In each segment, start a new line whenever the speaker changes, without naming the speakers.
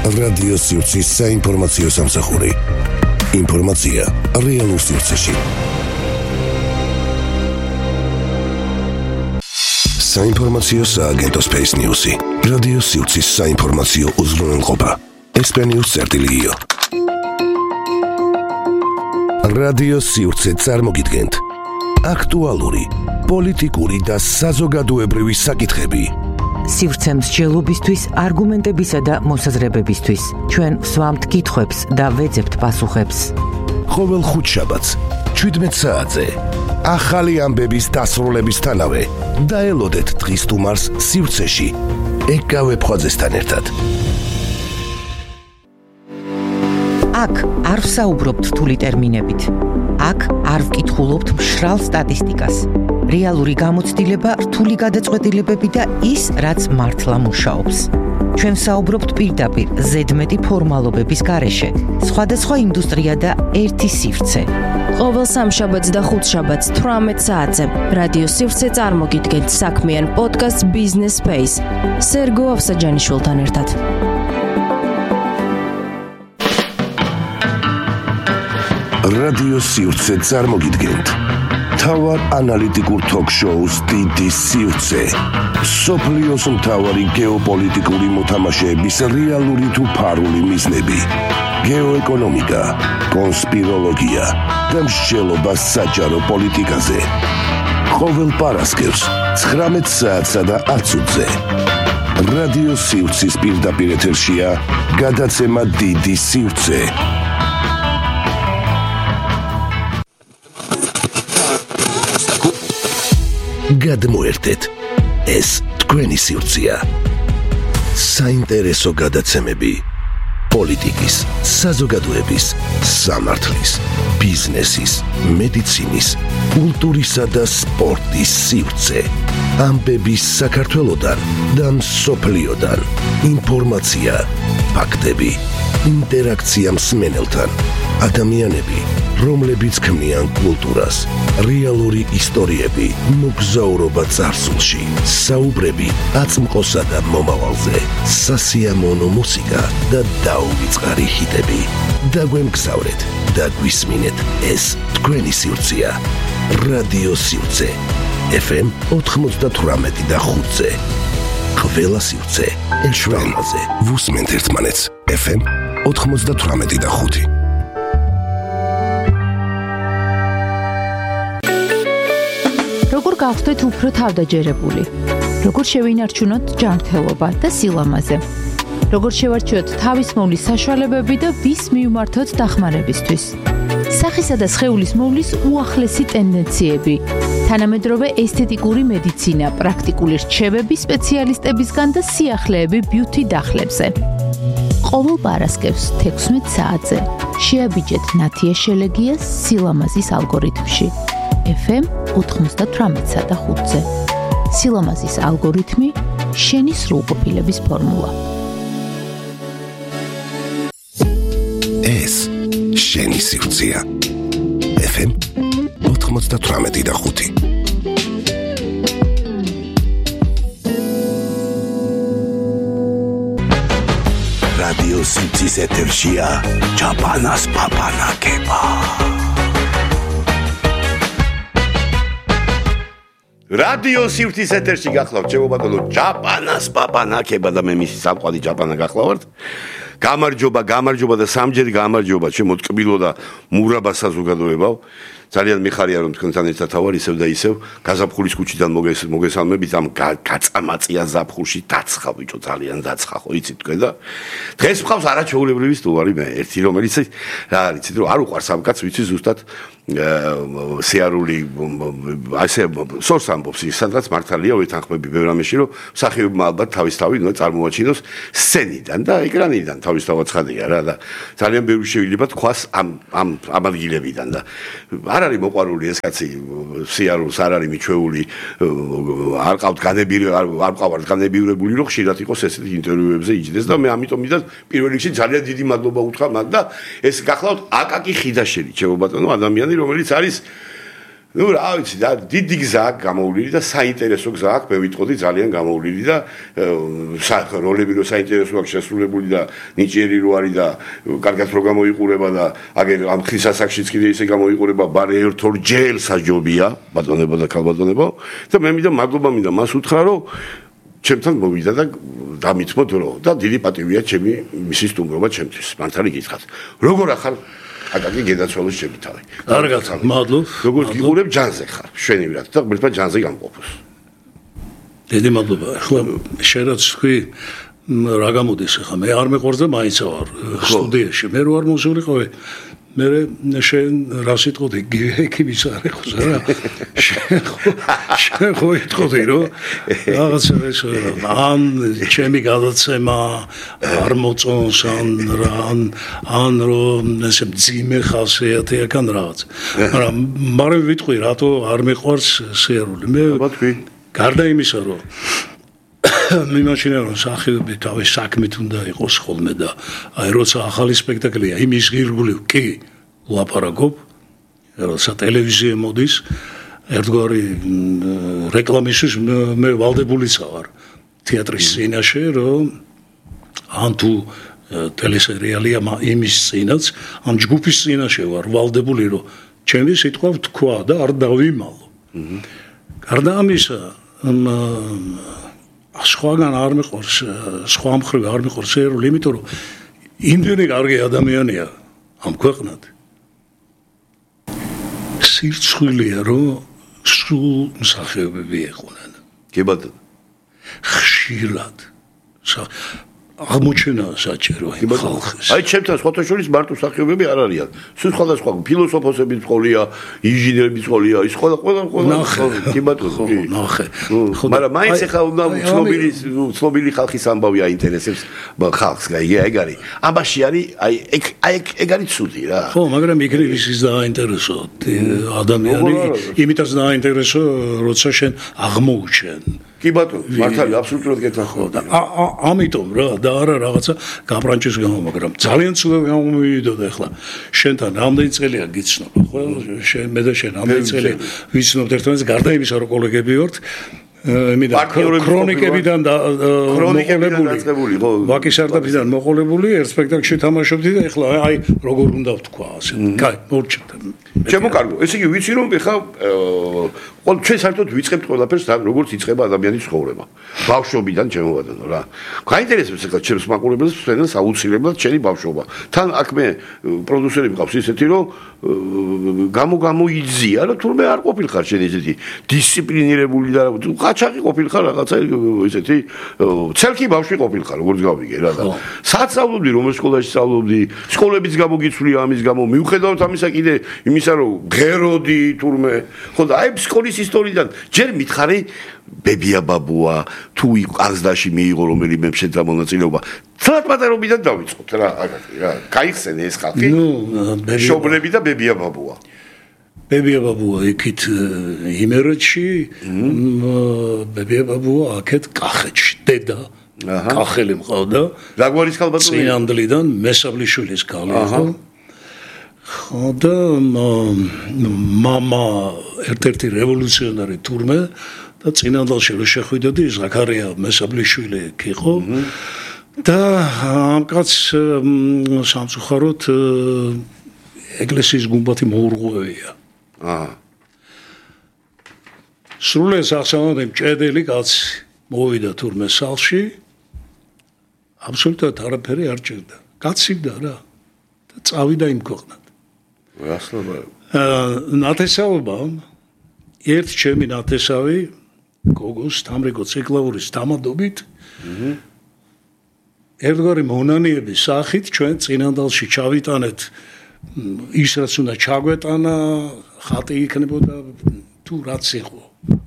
რადიო სივრცის საინფორმაციო სამსახური. ინფორმაცია რეალურ სივრცეში. საინფორმაციო სააგენტო Space News-ი. რადიო სივრცის საინფორმაციო უზრუნველყოფა. Espen-News.io. რადიო სივრცე წარმოგიდგენთ აქტუალური, პოლიტიკური და საზოგადოებრივი საკითხები.
სივრცე მსჯელობისთვის, არგუმენტებისა და მოსაზრებებისთვის. ჩვენ ვსვამთ კითხვებს და ვეძებთ პასუხებს.
ყოველ ხუთშაბათს 17 საათზე ახალი ამბების დასრულებისთანავე დაელოდეთ დღის სტუმარს სივრცეში ეკავე ფხაძესთან ერთად.
აქ არ ვსაუბრობთ რთული ტერმინებით. აქ არ ვკითხულობთ მშრალ სტატისტიკას. რეალური გამოცდილება, რთული გადაწყვეტილებები და ის, რაც მართლა მუშაობს. ჩვენ ვსაუბრობთ პირდაპირ ზედმეტი ფორმალობების გარეშე. სხვადასხვა ინდუსტრია და ერთი სივრცე.
ყოველ სამშაბათს და ხუთშაბათს 18 საათზე რადიო სივრცე წარმოგიდგენთ საქმიან პოდკასტ Business Space სერგო ავსაჯანიშვილთან ერთად.
რადიო სივრცე წარმოგიდგენთ თავარ ანალიტიკურ ток-შოუს დიდი სივრცე. სოფლიოს მთავარი გეოპოლიტიკური მოთამაშეების რეალური თუ ფარული მიზნები. გეოეკონომიკა, კონსპიროლოგია და მსჯელობა საჯარო პოლიტიკაზე. ყოველ პარასკევს 19 საათსა და 10 წუთზე. რადიო სივრცის პირდაპირ ეთერშია გადაცემა დიდი სივრცე. გადმოერთეთ, ეს თქვენი სივრცეა. საინტერესო გადაცემები პოლიტიკის, საზოგადოების, სამართლის, ბიზნესის, მედიცინის, კულტურისა და სპორტის სივრცე. ამბები საქართველოდან და მსოფლიოდან. ინფორმაცია, ფაქტები, ინტერაქცია მსმენელთან. ადამიანები, რომლებიც ქმნიან კულტურას, რეალური ისტორიები, მოგზაურობა წარსულში, საუბრები აწმყოსა და მომავალზე, სასიამოვნო მუსიკა და დაუვიწყარი ჰიტები. დაგვემგზავრეთ და გვისმინეთ, ეს თქვენი სივრცეა. რადიო სივრცე FM 98 და 5-ზე. ყველა სივრცე ეშვენაზე. ვუსმენთ ერთმანეთს FM 98 და 5.
როგორ გავხდეთ უფრო თავდაჯერებული? როგორ შევინარჩუნოთ ჯანმრთელობა და სილამაზე? როგორ შევარჩიოთ თავისმოვლის საშუალებები და ვის მივმართოთ დახმარებისთვის? სახისა და სხეულის მოვლის უახლესი ტენდენციები, თანამედროვე ესთეტიკური მედიცინა, პრაქტიკული რჩევები სპეციალისტებისგან და სიახლეები ბიუთი დახლებზე. ყოველ პარასკევს 16 საათზე შეაბიჯეთ ნათია შელეგიას სილამაზის ალგორითმში. FM 98 და 5-ზე. სილამაზის ალგორითმი, შენი სრულყოფილების ფორმულა.
ეს შენი სივრცეა. FM 98 და 5. რადიო სივრცის ეთერშია ჩაპანას პაპანაკება.
რადიო სივრცის ეთერში გახლავთ, ჩემო ბატონო, ჩაპანას პაპანაკება და მე მისი სამყარო ჩაპანა გახლავთ. გამარჯობა და სამჯერ გამარჯობა ჩემო ტკბილო და მურაბა საზოგადოებაო. ძალიან მიხარია რომ თქვენთან ერთად ვარ ისევ და ისევ გაზაფხულის ქუჩიდან მოგესალმებით ამ გაწამაწია ზაფხულში დაცხა ბიჭო ძალიან დაცხა ხო იცით თქვენ და დღეს მყავს არაჩვეულებრივი სტუმარი მე ერთი რომელიც რა არის იცით რომ არ უყვარს ამ კაცს ვიცი ზუსტად სიარული ასე სორს ამბობს ის სადღაც მართალია ვეთანხმები ბევრ ამაში რომ მსახიობმა ალბათ თავისთავად წარმოაჩინოს სცენიდან და ეკრანიდან თავისთავად ცხადია რა და ძალიან ბევრი შეიძლება თქვას ამ ადგილებიდან და არ არის მოყვარული ეს კაცი სიარულს არ არის მიჩვეული არ ყავთ განებირებული რომ ხშირად იყოს ესეთი ინტერვიუებზე იჯდეს და მე ამიტომ მითხრა პირველ რიგში ძალიან დიდი მადლობა უთხრა მათ და ეს გახლავთ აკაკი ხიდაშელი ჩემო ბატონო ადამიანი რომელიც არის ნუ რა ვიცი და დიდი გზა აქვს გამოვლილი და საინტერესო გზა აქვს მე ვიტყოდი ძალიან გამოვლილი და როლები რო საინტერესო აქვს შესრულებული და ნიჭიერი რო არის და კარგად რო გამოიყურება და აგერ ამ ხის ასაკშიც კიდე ისე გამოიყურება ბარე ერთ-ორჯერ საჯობია ბატონებო და ქალბატონებო და მე მინდა მადლობა მინდა მას უთხრა რომ ჩემთან მოვიდა და დამითმოთ რომ და დიდი პატივია ჩემი მისი სტუმრობა ჩემთვის მართალი გითხრათ როგორ ახარ აკაკი გედაცვალოს ჩემი თავი
კარგად მადლობ
როგორც გიყურებ ჯანზე ხარ შვენივრად და ღმერთმა ჯანზე გამყოფოს
დიდი მადლობა ახლა შენ რაც თქვი რა გამოდის ახლა მე არ მეყორზე მაინც ვარ სტუდიაში მე რო არ მოსულიყავი მე შენ რა სიტყოდი ექიმის არ ეხოს რა შენ ხო იტყოდი რომ რაღაცა ეს ან ჩემი გადაცემა არ მოწონს ან რომ ესე ძიმე ხასიათი აქან რაღაც მაგრამ ვიტყვი რატო არ მეყვარს სიარული მე გარდა იმისა რომ მიმაჩნია რომ სახიობი თავის საქმით უნდა იყოს ხოლმე და აი როცა ახალი სპექტაკლია იმის ღირგული კი ლაპარაკობ როცა ტელევიზია მოდის ერთგვარი რეკლამისთვის მე ვალდებულიც ვარ თეატრის სცენაში რომ ან თუ ტელესერიალია იმის სცენაც ამ ჯგუფის სცენაში ვარ ვალდებული რომ ჩემი სიტყვა თქვა და არ დავიმალო გარდა ამისა სხვაგან არ მეყურს სხვა მხრივ არ მეყურს ერული იმიტომ რომ იმდენი კარგი ადამიანია ამ ქვეყნად სირცხვილია რომ სულ მსახიობები ეყვნენ
კი ბატონო
ხშირად აღმოჩენა საჭირო ხალხის
აი ჩემთან სხვათაშორის მარტო მსახიობები არ არიან სულ სხვადასხვა ფილოსოფოსები მწოლია ინჟინერები მწოლია ის ყველა კი ბატონო კი
ნახე
მაგრამ მაინც ახლა უნდა ცნობილი ხალხის ამბავი აინტერესებს ხალხს ეგ არის ამაში არის აი ეგ არის ცუდი რა
ხო მაგრამ იქნებ ის დააინტერესო ადამიანი იმიტაც დააინტერესო როცა შენ აღმოუჩენ
კი ბატონო მართალი აბსოლუტურად გეთანხმები
ამიტომ რა და არა რაღაცა გაბრანჭის გამო მაგრამ ძალიან ცუდად გამომივიდოდა ახლა შენთან რამდენი წელია გიცნობ ხო შენ მე და შენ რამდენი წელია ვიცნობთ ერთმანეთს გარდა იმისა რომ კოლეგები ვართ ქრონიკებიდან მოყოლებული
ხო
ვაკის არდაფიდან მოყოლებული ერთ სპექტაკლში თამაშობდი და ახლა აი როგორ უნდა ვთქვა ასე კაი მორჩა
ჩემო კარგო ესე იგი ვიცი რომ ეხა ჩვენ საერთოდ ვიწყებთ ყველაფერს როგორც იწყება ადამიანის ცხოვრება ბავშვობიდან ჩემო ბატონო რა გაინტერესებს ეხლა ჩემს მაყურებელს ფენს აუცილებლად ჩემი ბავშვობა თან აქ მე პროდიუსერი მყავს ისეთი რომ გამოიძია რომ თურმე არ ყოფილხარ შენ ესეთი დისციპლინირებული და ყაჩაღი ყოფილხარ რაღაცა ესეთი ცელკი ბავშვი ყოფილხარ როგორც გავიგე რა და საცავლობდი რომ სკოლაში სწავლობდი სკოლებიც გამოგიცვლია ამის გამო მიუხედავად ამისა კიდე იმისა რომ ღეროდი თურმე ხო და აი სკოლის ისტორიიდან ჯერ მითხარი ბებია ბაბუა თუ ყაზდაში მიიღო რომელიმე შედა მონაწილეობა ცალ პატარობიდან დავიწყოთ რა აკაკი რა გაიხსენე ეს ხალხი შობლები და ბებია ბაბუა
ბებია ბაბუა იქით იმერეთში ბებია ბაბუა აქეთ კახეთში დედა კახელი მყავდა
რა გვარის ქალბატონი
წინანდლიდან მესაბლიშვილის ქალი იყო და მამა ერთ-ერთი რევოლუციონარი თურმე და წინანდალში რო შეხვიდოდი ზაქარია მესაბლიშვილი იყო და ამ კაცს სამწუხაროდ ეკლესიის გუმბათი მოურღვევია სრულეს ახსოვდი მჭედელი კაცი მოვიდა თურმე სალში აბსოლუტურად არაფერი არ ჭირდა კაცივდა რა და წავიდა იმ ქვეყნად ნათესაობა ერთ ჩემი ნათესავი გოგოს თამრიგო ციკლავურის დამადობით ერთგვარი მონანიების სახით ჩვენ წინანდალში ჩავიტანეთ ის რაც უნდა ჩაგვეტანა ხატი იქნებოდა თუ რაც იყო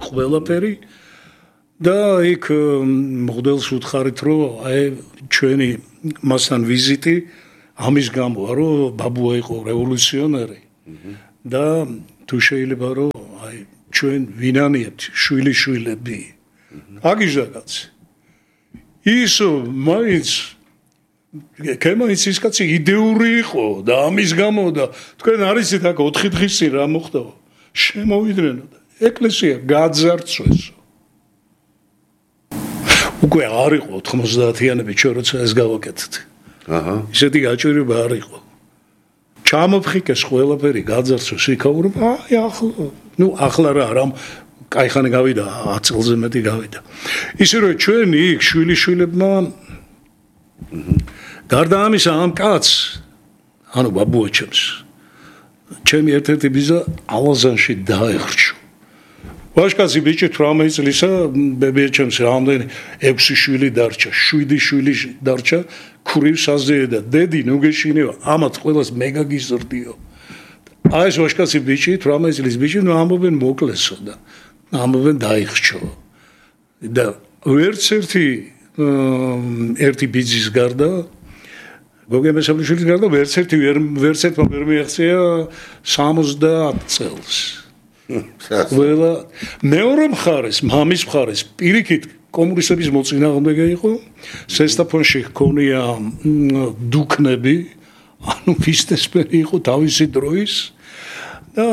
ყველაფერი და იქ მოდელს უთხარით რომ აი ჩვენი მასთან ვიზიტი ამის გამო რომ ბაბუა იყო რევოლუციონერი და თუ შეიძლება რომ აი ჩვენ ვინანიებთ შვილიშვილები აგიჟაკაც ის მაინც კემაინც ის კაცი იდეური იყო და ამის გამო და თქვენ არიცით აქ 4 დღის წინ რა მოხდა შემოვიდნენ და ეკლესია გაძარცვეს. უკვე არ იყო 90-იანები ჩვენ როცა ეს გავაკეთეთ. ისეთი გაჭირება არ იყო. ჩამოფხიკეს ყველაფერი გაძარცვეს იქაურობა, ახლა რა რამ კაიხანი გავიდა 10 წელზე მეტი გავიდა. ისე რომ ჩვენ იქ შვილიშვილებმა გარდა ამისა ამ კაცს ანუ ბაბუა ჩემი ერთ-ერთი ბიძა ალაზანში დაეხრჩო. ვაჟკაცი ბიჭი 18 წლისა ბებია ჩემს რამდენი 6 შვილი დარჩა, 7 შვილი დარჩა, ქურივ საზეა და დედი ნუ გეშინევა, ამათ ყველას მეგაგიზრდიო. აი ეს ვაჟკაცი ბიჭი 18 წლის ბიჭი ნუ ამბობენ მოკლესო და ამბობენ დაიხრჩო. და ერთი ბიძის გარდა გოგე მესამიშვილის გარდა ვერცერთმა ვერ მიაღწია 70 წელს. ყველა მეორე მხარეს, მამის მხარეს პირიქით კომუნისტების მოწინააღმდეგე იყო, სესტაფონში ჰქონია დუქნები, ანუ ფისტესპერი იყო თავისი დროის და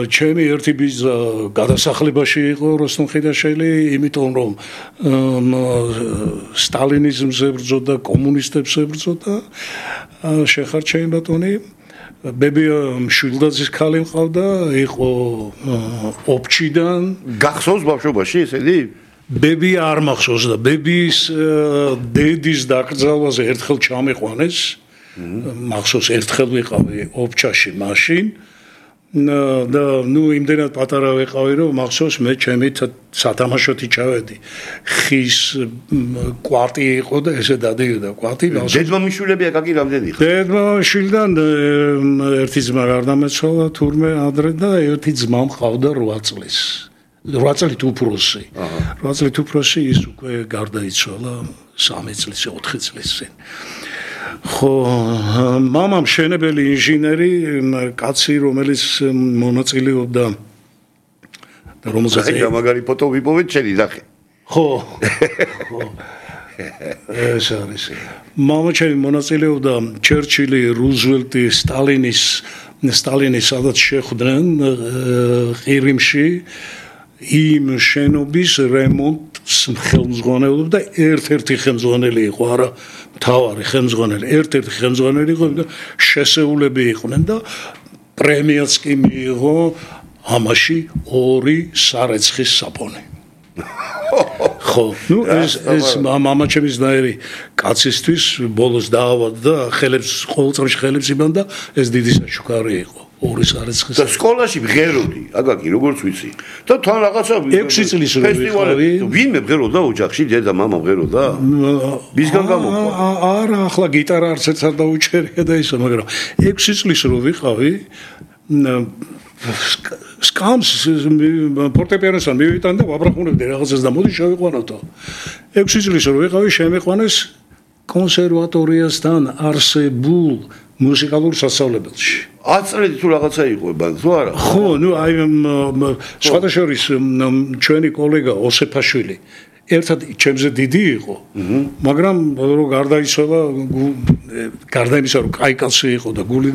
ჩემი ერთი ბიძა გადასახლებაში იყო როსტომ ხიდაშელი, იმიტომ რომ სტალინიზმს ებრძოდა, კომუნისტებს ებრძოდა, შეხარჩეინ ბატონი ბებია მშვილდაძის ქალი მყავდა, იყო ოფჩიდან.
გახსოვს ბავშვობაში ესეთი?
ბები არ მახსოვს და ბების დედის დაკრძალვაზე ერთხელ ჩამიყვანეს. მახსოვს ერთხელ ვიყავი ოფჩაში მაშინ. და ნუ იმდენად პატარა ვიყავი რომ მახსოვს მე ჩემი სათამაშოთი ჩავედი. ხის კვარტი იყო და ესე დადიოდა კვარტი.
დედმამიშვილები აკაკი რამდენი ხარ?
დედმამიშვილიდან ერთი ძმა გარდამეცვალა თურმე ადრე და ერთი ძმა მყავდა 8 წლის. 8 წლით უფროსი. 8 წლით უფროსი ის უკვე გარდაიცვალა 3 წლის, 4 წლის წინ. ხო, მამამ მშენებელი ინჟინერი, კაცი, რომელიც მონაწილეობდა და რომელსაც
მაგარი ფოტო ვიპოვეთ შენი ნახე.
ხო. ეს არის. მამა ჩემი მონაწილეობდა ჩერჩილი, რუზველტი, სტალინის სადაც შეხვდნენ ყირიმში იმ შენობის რემონტს ხელმძღვანელობდა და ერთ-ერთი ხელმძღვანელი იყო, არა მთავარი ხელმძღვანელი, ერთ-ერთი ხელმძღვანელი იყო და შესეულები იყვნენ და პრემიაც კი მიიღო ამაში 2 სარეცხის საპონი. ხო, ნუ ეს მამა ჩემის ნაირი კაცისთვის ბოლოს დაავადდა და ხელებს ყოველწამში ხელებს იბანდა, ეს დიდი საჩუქარი იყო. 2 სარეცხის.
და სკოლაში მღეროდი, აკაკი, როგორც ვიცი. და თან რაღაცა
6 წლის რო ვიყავი.
ვინმე მღეროდა ოჯახში, დედა, მამა მღეროდა? ვისგან გამოყვა?
არა, ახლა გიტარა არც ერთს არ დაუჭერია და ისო, მაგრამ 6 წლის რო ვიყავი, სკამს ფორტეპიანოსთან მივიტან და ვაბრახუნებდი რაღაცას და მოდი შევიყვანოთო. 6 წლის რო ვიყავი, შემიყვანეს კონსერვატორიასთან არსებულ მუსიკალურ სასწავლებელში.
10 წელი თუ რაღაცა იყო ბან, თუ არა?
ხო, ნუ აი სხვადასხვის ჩვენი კოლეგა ოსეფაშვილი ერთად ჩემზე დიდი იყო, მაგრამ რომ გარდაიცვალა, გარდა იმისა რომ კაი კაცი იყო და გული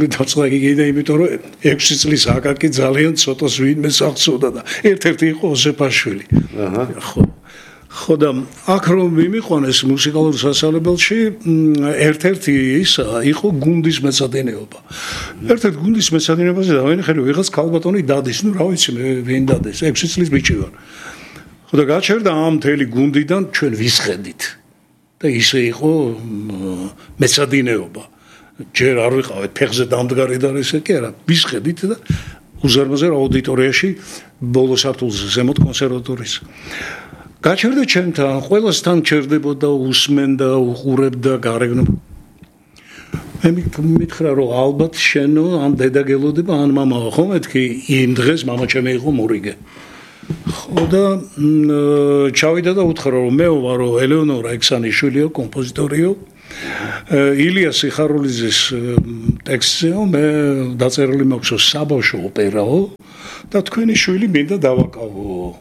დამწყდა კიდე იმიტომ რომ 6 წლის აკაკი ძალიან ცოტას ვინმე აღწევდა და ერთ-ერთი იყო ოსეფაშვილი. ხო და აქ რომ მიმიყვანეს მუსიკალურ სასწავლებელში ერთ-ერთი ის იყო გუნდის მეცადინეობა. ერთ-ერთ გუნდის მეცადინეობაზე დავინახე რომ ვიღაც ქალბატონი დადის, ნუ რა ვიცი მე ვინ დადეს, 6 წლის ბიჭი ვარ. ხო და გაჩერდა ამ მთელი გუნდიდან ჩვენ ვისხედით. და ისე იყო მეცადინეობა. ჯერ არ ვიყავით ფეხზე დამდგარი და ესე კი არა, ვისხედით და უზარმაზარ აუდიტორიაში ბოლო სართულზე ზემოთ კონსერვატორიის. გაჩერდა ჩემთან, ყველასთან ჩერდებოდა, უსმენდა, უყურებდა, გარეგნო. მე მითხრა რომ ალბათ შენო ან დედა გელოდება, ან მამაო, ხო მეთქი, იმ დღეს მამა ჩემი იყო მორიგე. ხო და ჩავიდა და უთხრა რომ მე ვარო ელეონორა ექსანიშვილიო, კომპოზიტორიო. ილია სიხარულიძის ტექსტზეო, მე დაწერილი მაქვს საბავშვო ოპერაო და თქვენი შვილი მინდა დავაკავო.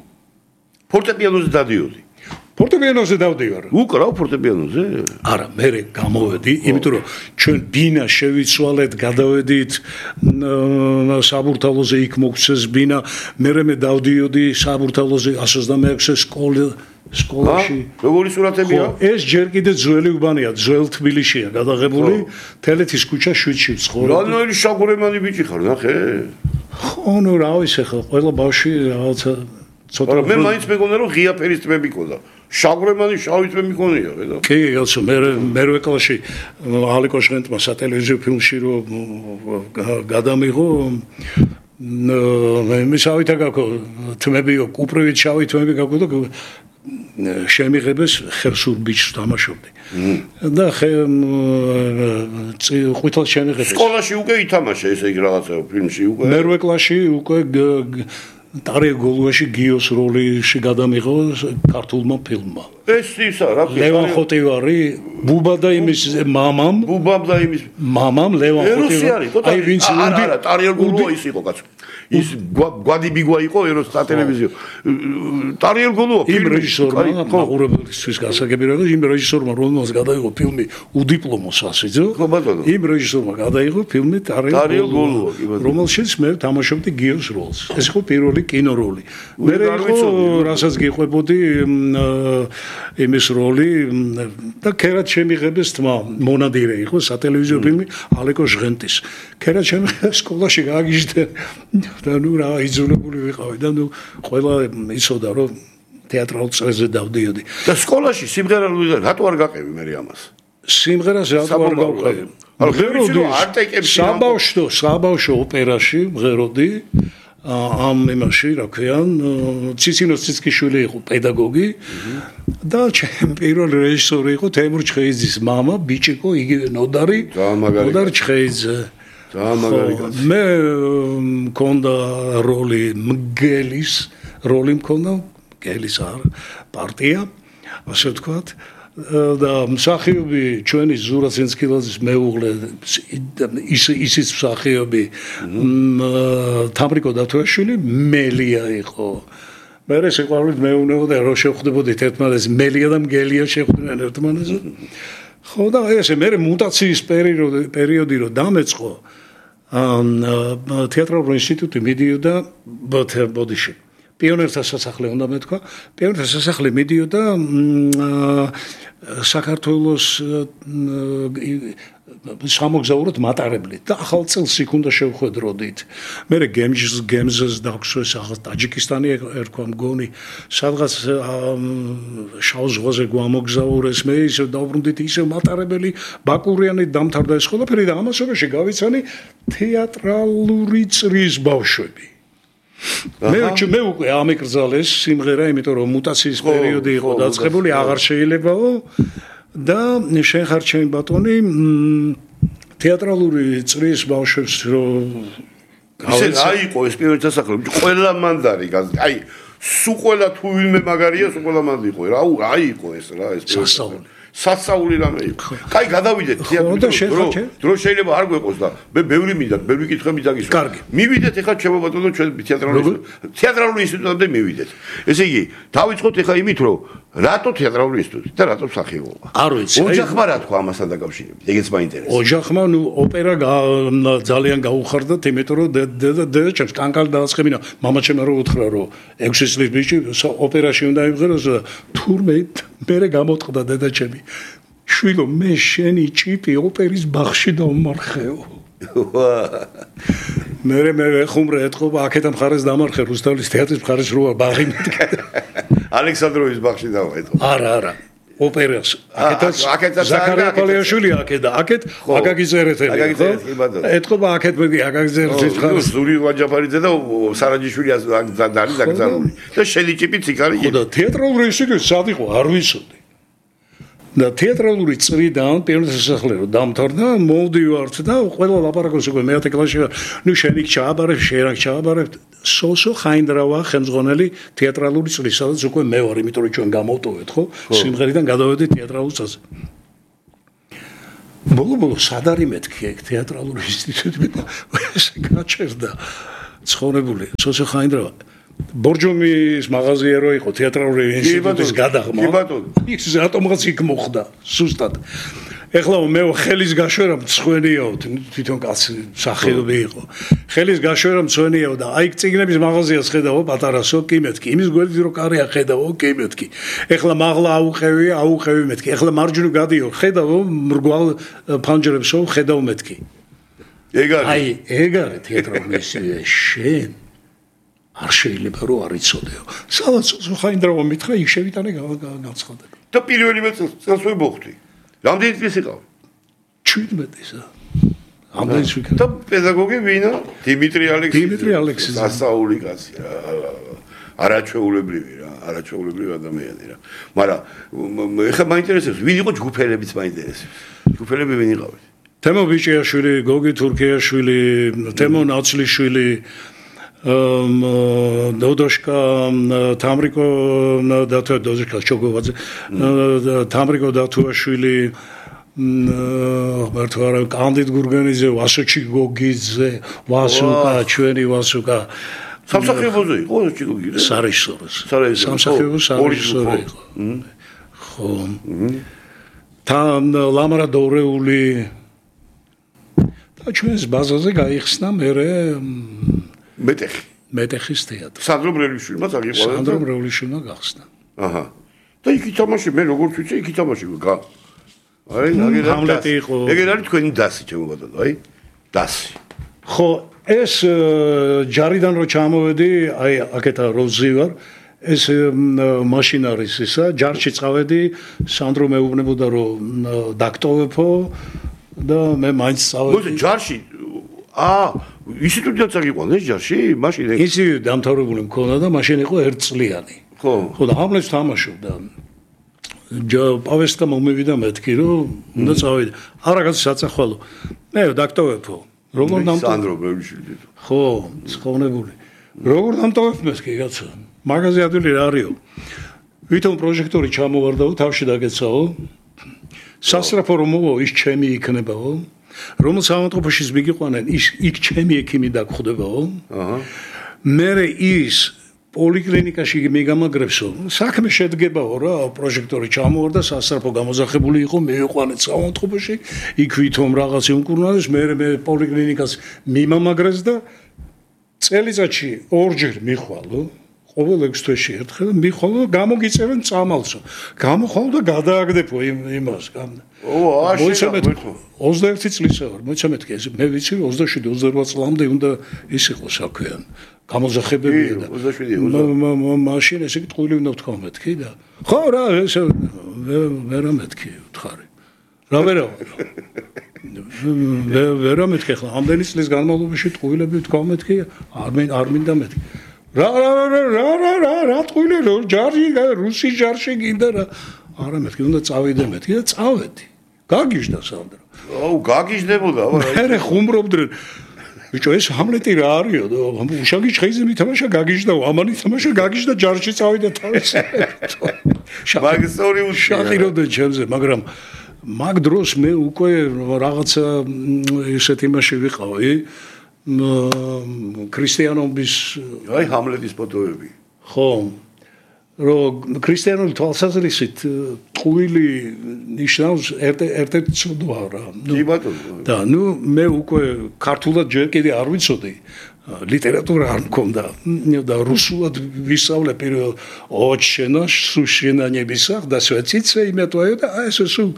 ფორტეპიანოზე დადიოდი.
ფორტეპიანოზე დავდივარ.
უკრავ ფორტეპიანოზე?
არა, მე გამოვედი, იმიტომ რომ ჩვენ ბინა შევიცვალეთ, გადავედით საბურთალოზე იქ მოგვცეს ბინა, მე დავდიოდი საბურთალოზე 126-ე სკოლაში.
როგორი სურათებია?
ეს ჯერ კიდე ძველი უბანია, ძველ თბილისშია გადაღებული, თელეთის ქუჩა 7-ში ვცხოვრობ.
რანოელი შაგურემანი ბიჭი ხარ, ნახე?
ხო, ნუ რა ვიცი ხო, ყველა ბავშვი რაღაცა ცოტა.
მე მაინც მეგონა რომ ღია ფერის თმები ყოდა. შაგურემანი შავი თმები მქონია, ხედავ?
კი, გასო, მე კლასში ალიკო ჟღენტმა სატელევიზიო ფილმში რომ გადამიღო მე შავითა გაქო თმები, კუპრივით შავი თმები გაქო და შემიღებეს ხევსურ ბიჭს თამაშობდი. და ყვითელ შემიღებეს.
სკოლაში უკვე ითამაშე ესე იგი რაღაცა ფილმში უკვე.
მე კლასში უკვე ტარიელ გოლუაში გიოს როლიში გადამიღო ქართულმა ფილმმა.
ეს ისა რა ფილმი?
ლევან ხოტივარი, ბუბა და იმის მამამ.
ბუბამ და იმის
მამამ ლევან ხოტივარი.
აი ვინც არა, ტარიელ გოლუა ის იყო კაცო. ის გვადი ბიგვა იყო ეროს სატელევიზიო. ტარიელ გოლუა
იმ რეჟისორმა მაყურებელისთვის გასაგები რომ იმ რეჟისორმა რომელსაც გადაიღო ფილმი უდიპლომო სასიძო.
ხო ბატონო.
იმ რეჟისორმა გადაიღო ფილმი ტარიელ გოლუა, რომელშიც მე თამაშობდი გიოს როლს. ეს იყო პირველი კინოროლი. მე იყო რასაც გიყვებოდი იმის როლი და ქერად შემიღებეს თმა მონადირე იყო სატელევიზიო ფილმი ალეკო ჟღენტის. ქერად შემიღე სკოლაში გააგიჟდე და ნუ რა იძულებული ვიყავი და ნუ ყველა იცოდა რომ თეატრალურ წრეზე დავდიოდი.
და სკოლაში სიმღერა რატო არ გაყევი მე ამას?
სიმღერას რატო არ გავყევი? საბავშვო ოპერაში მღეროდი ამ იმაში რა ქვიან ციცინოს ციცკიშვილი იყო პედაგოგი და პირველი რეჟისორი იყო თემურ ჩხეიძის მამა ბიჭიკო იგივე ნოდარი ჩხეიძე მე მქონდა როლი მგელის როლი მქონდა მგელის პარტია ასე ვთქვათ და მსახიობი ჩვენი ზურა ცინსკილაძის მეუღლე ისიც მსახიობი თამრიკო დათოაშვილი მელია იყო მე სიყვარულით მეუბნებოდა რომ შევხვდებოდით ერთმანეთს მელია და მგელია შევხვდნენ ერთმანეთს ხო და ესე მე მუტაციის პერიოდი რომ დამეწყო თეატრალურ ინსტიტუტი მიდიოდა ბოდიში პიონერთა სასახლე უნდა მეთქვა პიონერთა სასახლე მიდიოდა საქართველოს სამოგზაუროდ მატარებლით და ახალ წელს იქ უნდა შევხვედროდით მე გემზს დაგვსვეს ახალ ტაჯიკისტანი ერქვა მგონი სადღაც შავ ზღვაზე გვამოგზაურეს მე ისე დავბრუნდით ისე მატარებელი ბაკურიანი დამთავრდა ეს ყველაფერი და ამასობაში გავიცანი თეატრალური წრის ბავშვები მე უკვე ამეკრძალეს სიმღერა იმიტომ რომ მუტაციის პერიოდი იყო დაწყებული აღარ შეიძლებაო და შენ ხარ ჩემი ბატონი თეატრალური წრის ბავშვებს რომ
ისე რა იყო ეს პირველი სასახლე ყველა მანდარი აი სულ ყველა თუ ვინმე მაგარია სულ ყველა მანდი იყო რა იყო ეს რა ეს სასწაული რამე იყო. კაი გადავიდეთ თეატრში. დრო შეიძლება არ გვეყოს და მე ბევრი მინდა, ბევრი კითხები დაგისვა.
კარგი.
მივიდეთ ეხლა ჩემო ბატონო ჩვენ თეატრალური ინსტიტუტამდე მივიდეთ. ესე იგი, დავიწყოთ ეხლა იმით, რომ რატო თეატრალური ინსტიტუტი და რატო მსახიობობა?
არ ვიცი.
ოჯახმა რა თქვა ამასთან დაკავშირებით? ეგეც მაინტერესებს.
ოჯახმა ნუ ოპერა ძალიან გაუხარდათ, იმიტომ რომ დედა ჩემს კანკალ დააწყებინა. მამა ჩემმა რო უთხრა, რომ 6 წლის ბიჭი ოპერაში უნდა იმღეროს და თურმე მე გამოტყდა დედა ჩემი. შვილო მე შენი ჭიპი ოპერის ბაღში დავმარხეო. მე ხუმრე ეთყობა აქეთა მხარეს დამარხე რუსთავის თეატრის მხარეს როა ბაღი მეთქე.
ალექსანდროვის ბაღში დავეთყო.
არა. ოპერას აქეთა ზაქარია პალიაშვილი აქედა აქეთ აკაგიზერეთელი ეთყობა აქეთ მე აკაგიზერეთის მხარეს
ზური ვაჯაფარიძე და სარაჯიშვილი არის დაკრძალული და შენი ჭიპიც იქ არის.
ხო და თეატრალური ინსტიტუტი სად იყო არ ვიცოდი. და თეატრალური წრიდან პირველი სასახლე რომ დამთავრდა მოვდივართ და ყველა ლაპარაკობს უკვე მე-10 კლასში ნუ შენი ჩააბარებ შენ ჩააბარებ სოსო ხაინდრავა ხელმძღვანელი თეატრალური წრის სადაც უკვე მე ვარ იმიტომ რომ ჩვენ გამოვტოვეთ ხო სიმღერიდან გადავედით თეატრალურ წრეზე ბოლო სად არის მეთქი ეგ თეატრალური ინსტიტუტი ეს გაჩერდა ცხოვრებული სოსო ხაინდრავა ბორჯომის მაღაზია რო იყო თეატრალური ინსტიტუტის გადაღმა.
კი ბატონო.
ის რატომღაც იქ მოხდა სუსტად. ეხლა მე ხელის გაშვერა მცვენიაო, თვითონ კაცი სახეობი იყო. ხელის გაშვერა მცვენიაო და აი წიგნების მაღაზიას ხედავო პატარასო, კი მეთქი. იმის გვერდით რო კარია ხედავო, კი მეთქი. ეხლა მაღლა აუყევი მეთქი. ეხლა მარჯვნივ გადიო, ხედავო მრგვალ ფანჯრებსო, ხედავ მეთქი. აი ეგარი თეატრალური ინსტიტუტი შენ არ შეიძლება რომ არ იცოდეო. სადაც ხაინდრავა მითხრა, იქ შევიტანე განცხადება.
და პირველი წელს ვიმოხდი. რამდენი წელი იყო?
17-ისა. ამდენს ვიქნა.
და პედაგოგი ვინა? დიმიტრი
ალექსი.
სასაული კაცი რა. არაჩვეულებრივი რა, არაჩვეულებრივი ადამიანი რა. მაგრამ ეხლა მაინტერესებს, ვინ იყო ჯგუფელებიც მაინტერესებს. ჯგუფელები ვინ იყავით?
თემო ბიჭიაშვილი, გოგი თურქიაშვილი, თემო ნაცლიშვილი, დოდოშკა, თამრიკო დოდოშკა ჩოგოვაძე, თამრიკო დათუაშვილი, მართლა კანდიდ გურგენიძე, ვასოჩი გოგიძე, ვასუკა, ჩვენი ვასუკა.
სამსახიობოზე იყო ჩიგოგი რა?
სარიჟისოროს.
სამსახიობო
სარიჟისორო იყო. ხო. თან ლამარა დორეული და ჩვენს ბაზაზე გაიხსნა მერე მეტეხის თეატრი.
სანდრო ბრევლიშვილმა წაგიყვანა.
სანდრო ბრევლიშვილმა გახსნა.
აჰა. და იქ ითამაში, მე როგორც ვიცი, იქ ითამაში გა. აი,
ჰამლეტი იყო.
ეგერ არის თქვენი დასი, ჩემო ბატონო, აი, დასი.
ხო, ეს ჯარიდან რო ჩამოვედი, აი, აქეთა როზი ვარ. ეს მაშინ არის ისა, ჯარში წავედი, სანდრო მეუბნებოდა რომ დაქტოვებო და მე მაინც წავედი.
მოდი ჯარში. ინსტიტუტიდან წაგიყვანე ჯარში? მაშინ
ინსტიტუტი დამთავრებული მქონდა და მაშინ იყო 1 წლიანი.
ხო.
ხო და ჰამლეტს თამაშობდა. პავესტა მომივიდა მეთქი რომ უნდა წავედი. არაგაც საწახვალო. მე დაქტოვებო. როგორ დამტოვებ?
სანდრო მეუბნები.
ხო, ცხოვნებული. როგორ დამტოვებ მეთქი კაცო? მაგაზე ადვილი რა არისო? ვითომ პროჟექტორი ჩამოვარდაო, თავში დაგეცაო. სასწრაფო რომ მოვა, ის ჩემი იქნებაო. რომელ სამავთყოფოში მიგიყვანენ, იქ ჩემი ექიმი დაგხვდებაო. აჰა. მე ის პოლიკლინიკაში მიგამაგრებსო. საქმე შედგებაო რა, პროჟექტორი ჩამოვარდა, სასწრაფო გამოძახებული იყო, მივიყვანეთ სამავთყოფოში, იქ ვითომ რაღაც იმკურნალეს, მე პოლიკლინიკას მიმამაგრეს და წელიწადში 2 ჯერ მიხვალო. ყოველ 6 თვეში ერთხელ მიხვალო და გამოგიწევენ წამალსო. გამოხვალ და გადააგდებო იმას. მოიცემეთ 21 წლისა ვარ, მოიცემეთ ეს მე ვიცი 27-28 წლამდე უნდა ის იყოს საქმეან. გამოძახებებია და 27 მაშინ ესე ტყუილი უნდა ვთქვა მეთქი და ხო რა ეს ვერა მეთქი ვთხარი. რა ვერა ვერა მეთქი ხლა ამდენი წლის განმავლობაში ტყუილები ვთქვა მეთქი არ მინდა მეთქი. რა ტყუილი ჯარში რუსი ჯარში გინდა რა არა მეთქი უნდა წავიდე მეთქი და წავედი გაგიჟდა სანდრო
აუ გაგიჟდებოდა
მე ხუმრობდნენ ბიჭო ეს ჰამლეტი რა არისო და უშაგი ჩხეიზე მითამაშა გაგიჟდა ამანი თამაშა გაგიჟდა ჯარში წავიდა თავის
მაგისტორი
უშახირობდნენ ჩემზე მაგრამ მაგ დროს მე უკვე რაღაცა ესეთ იმაში ვიყავი ქრისტიანობის
აი ჰამლეტის ფოტოები
ხო რომ ქრისტიანული თვალსაზრისით ტყუილი ნიშნავს ერთ-ერთ ცოდვა რა
კი ბატონო
და ნუ მე უკვე ქართულად ჯერ კიდე არ ვიცოდი ლიტერატურა არ მქონდა და რუსულად ვისწავლე პირველ ოჩენა სუშენანებისა და სვეციცე იმეთვაიო და ეს სულ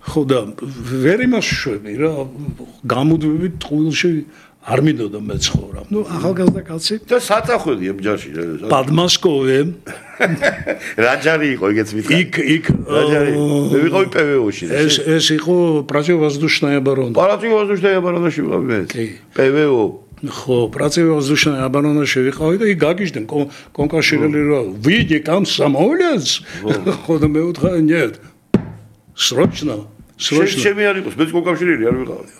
ხო და ვერ იმაშვები რა გამოდვები ტყუილში არ მინდოდა მეცხოვრა. ნუ ახალგაზრდა კაცი
და საწახველი ჯარში
პადმასკოვე
რაჯარი იყო იგეც მითხარ.
იქ
რაჯარი. მე ვიყავი პვო-ში.
ეს იყო პრაცევაზდუშნაია ბარონი.
პრაცევაზდუშნაია ბარონში ვიყავი მე. პვო.
ხო, პრაცევაზდუშნაია ბარონში ვიყავი და იქ გაგიჟდნენ კონკაშირელი რა. ვიდი კამსამოლეს. ხო და მე ვთქვა, ნიეთ. სროჩნა
შემი არ იყოს, მეც კონკავშირელი არ ვიყავი.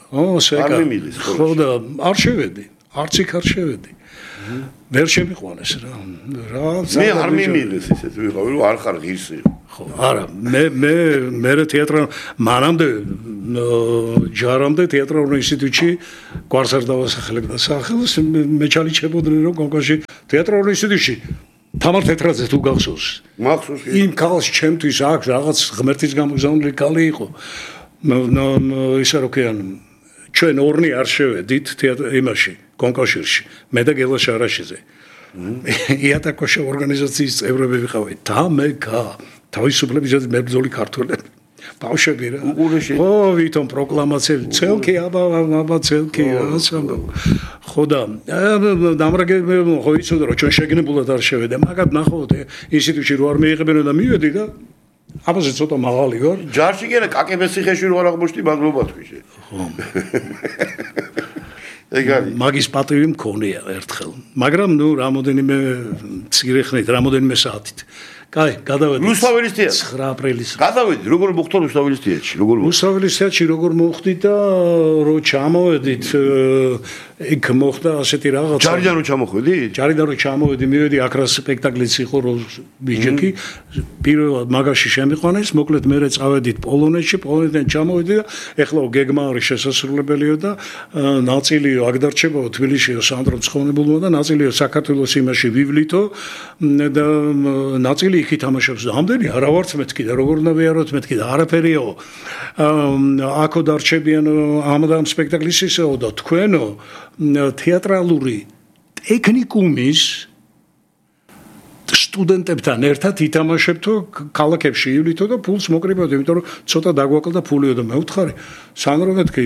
სეკა. ხო და არ შევედი, არც იქ არ შევედი. ვერ შემიყვანეს რა.
მე არ მიმიღეს ისეთ ვიყავი, რომ არ ხარ ღირსი.
ხო, არა, მე თეატრ მანამდე ჯარამდე თეატრალურ ინსტიტუტში გვარს არ დავასახელებდა სახელს, მე ჩალიჩებოდნენ რომ კონკურსში თეატრალურ ინსტიტუტში თამარ თეთრაძე თუ გახსოვს.
მახსოვს.
იმ ქალს ჩემთვის აქვს რაღაც ღმერთის გამოგზავნილი ქალი იყო. ისე რო ქვიან, ჩვენ ორნი არ შევედით იმაში, კონკურსში. მე და გელა შარაშიძე. იატაკოშა ორგანიზაციის წევრები ვიყავით. და მე თავისუფლებისათვის მებრძოლი ქართველები. ბავშვები რა. ო, ვითომ პროკლამაციები, ცელკი აბა ცელკი ასამბო. ხო და დამრაგე ხო იცოდა რომ ჩვენ შეგნებულად არ შევედა, მაგათ ნახოთ ინსტიტუტში რო არ მიიღებენ და მივედი და აბაზე ცოტა მაღალი ვარ.
ჯარში კი არა, კაკებეს ციხეში რო არ აღმოჩნდი მადლობა თქვი.
ხო.
ეგარი.
მაგის პატივი მქონია ერთხელ. მაგრამ ნუ რამოდენიმე მცირე ხნით, რამოდენიმე საათით. კაი, გადავედი.
რუსთაველის თეატრში
9 აპრილის.
გადავედი, როგორ მოხდა რუსთაველის თეატრში, როგორ მოხდა?
რუსთაველის თეატრში როგორ მოხდი და რო ჩამოვედით, იქ მოხდა ასეთი რაღაცა.
ჯარიდან რო ჩამოხვედი?
ჯარიდან რო ჩამოვედი, მივედი აკრას სპექტაკლიც იყო ბიჭექი. პირველად მაგაში შემიყვანეს, მოკლედ მე წავედით პოლონეთში, პოლონეთიდან ჩამოვედი და ეხლა გეგმა არის შესასრულებელიო და ნაწილიო აქ დარჩებაო თბილისშიო სანდრო მცხონებულმა და ნაწილიო საქართველოს იმაში ვივლითო და ნაწილი იქ ითამაშებს. ამდენი არა ვარც მეთქი და როგორ უნდა ვიაროთ მეთქი და არაფერიო. აქო დარჩებიან ამ სპექტაკლის ისეო და თქვენო თეატრალური ტექნიკუმის სტუდენტებთან ერთად ითამაშებთო ქალაქებში ივლითო და ფულს მოკრიბებდო, იმიტომ რომ ცოტა დაგვაკლდა ფულიო და მე ვთხარი სანდრო მეთქი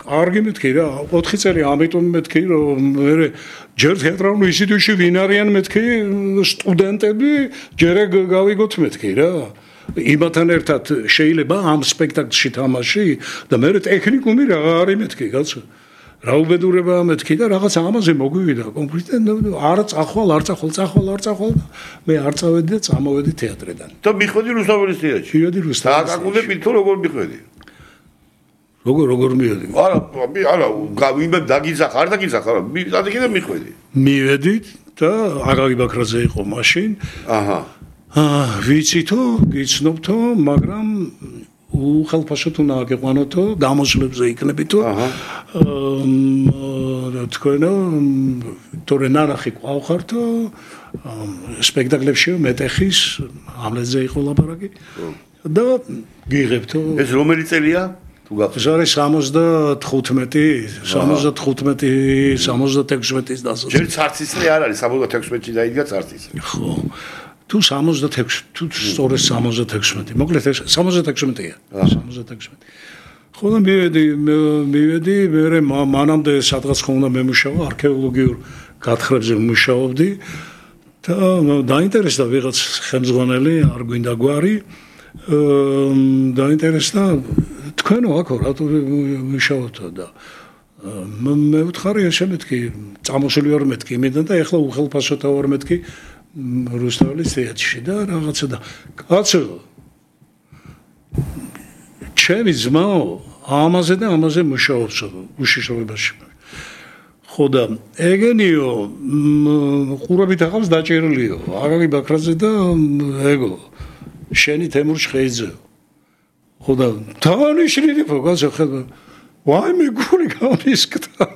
კარგი მეთქი რა 4 წელი ამიტომ მეთქი რომ მე ჯერ თეატრალურ ინსტიტუტში ვინ არიან მეთქი სტუდენტები ჯერ გავიგოთ მეთქი რა იმათან ერთად შეიძლება ამ სპექტაკლში თამაში და მე ტექნიკუმი რა არის მეთქი კაცო რა უბედურება მეთქი და რაღაც ამაზე მოგვივიდა კონკრეტულად არ წახვალ მე არ წავედი და წამოვედი თეატრიდან
და მიხვედი რუსთაველის თეატრში
მივედი რუსთაველის
და აკაკუნები თუ როგორ მიხვედი
როგორ მივედი
არა ვინმე დაგიძახ არ დაგიძახ არა დაგიძახ და მიხვედი
მივედით და აკაკი ბაქრაძე იყო მაშინ
აჰა
ვიცითო გიცნობთო მაგრამ უხალფასო თუ ნაგეყვანოთო გამოსვლებზე იქნებითო თქვენო თორე ნანახი ყავხართო სპექტაკლებში მეტეხის ამლეთზე იყო ლაპარაკი და გიღებთო
ეს რომელი წელია თუ
გახსოვს 76-ის დასაწყისი
ჯერ ცარცისრე არ არის 76-ში დაიდგა ცარცისრე
ხო თუ 66 თუ სწორედ 76 მოკლედ 76-ია 76 ხო და მივედი მე მანამდე სადღაც ხომ უნდა მემუშავა არქეოლოგიურ გათხრებზე ვმუშაობდი და დაინტერესდა ვიღაც ხელმძღვანელი არ გვინდა გვარი დაინტერესდა თქვენო აქ რატო ვმუშაობთ და მე ვთხარი ესე მეთქი წამოსული ვარ მეთქი იმედან და ეხლა უხელფასოთა ვარ მეთქი რუსთაველის თეატრში და რაღაცა და კაცო ჩემი ძმაო ამაზე მუშაობს უშიშროებაში ხო და ეგენიო ყურებით ახავს დაჭერლიო აკაკი ბაქრაძე და ეგო შენი თემურ ჩხეიძე ხო და თავანიშნილი ფოკას ახლა ვაიმე გული გამისკდა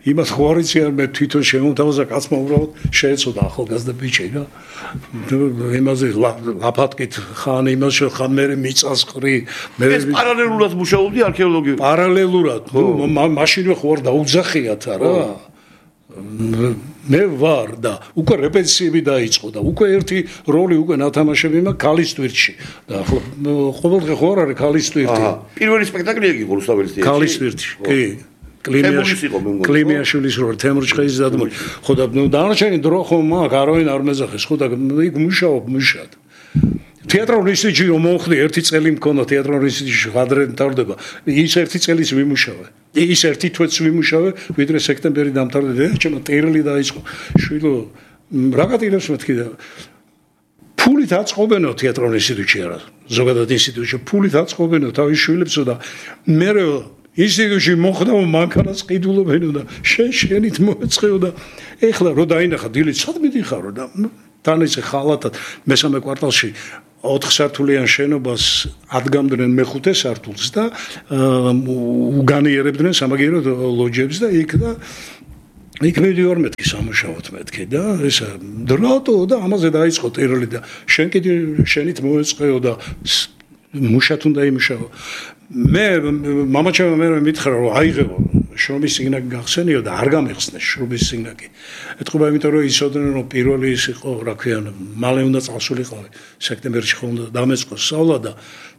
იმას ხوارიცი არ მე თვითონ შემოთავაზა კაცმა უბრალოდ შეეცოდა ახალგაზრდა ბიჭი რა იმაზე ლაფატკით ხან იმას ხან მე მიწასყრი მე
ეს პარალელურად მუშაობდი არქეოლოგიურ
პარალელურად მაშინვე ხوار დაუძახიათ რა მე ვარ და უკვე რეპეტიციები დაიწყო და უკვე ერთი როლი უკვე ნათამაშები მაქვს ქალის ტვირთში და ახლა ყოველდღე ხო არ არის ქალის ტვირთი
პირველი სპექტაკლი იყო რუსთაველის თეატრში
ქალის ტვირთში კი კლიმიაშვილის როლი თემურ ჩხეიძის დადგმული ხო და დანარჩენი დრო ხო მაქვს არავინ არ მეძახეს ხო და იქ მუშაობ მუშად თეატრალურ ინსტიტუტში რომ მოხდი ერთი წელი მქონდა თეატრალურ ინსტიტუტში გადრენ თავდება ის ერთი წელის ვიმუშავე ის ერთი თვეც ვიმუშავე ვიდრე სექტემბერი დამთავრდა ჩემო ტერლი დაიწყო შვილო რაღაცილებს მეთქი და ფულით აწყობენო თეატრალურ ინსტიტუტში არა ზოგადად ინსტიტუტში ფულით აწყობენო თავის შვილებსო და მე ინსტიტუტში მოხდა მანქანას ყიდულობენო და შენით მოეწყეო და ეხლა რო დაინახა დილით სად მიდიხარო და თან ისე ხალათად მესამე კვარტალში 4 სართულიან შენობას ადგამდნენ მეხუთე სართულს და უგანიერებდნენ სამაგიერო ლოჯებს და იქ მივდივარ მეთქი სამუშაოდ მეთქი და ესა დრატო და ამაზე დაიწყო ტერორი და შენ კიდე შენით მოეწყეო და მუშათ უნდა იმუშაო მე მამაჩემ მე მითხრა რომ აიღებო შრომის სიგნალი გახსენიო და არ გამიხსნეს შრომის სიგნალი ეთქობა იმიტომ რომ ისოდნენ რომ პირველი ის იყო რა ქვია მალე უნდა წავსულიყო სექტემბერში ხო უნდა დამეწყო სწავლა და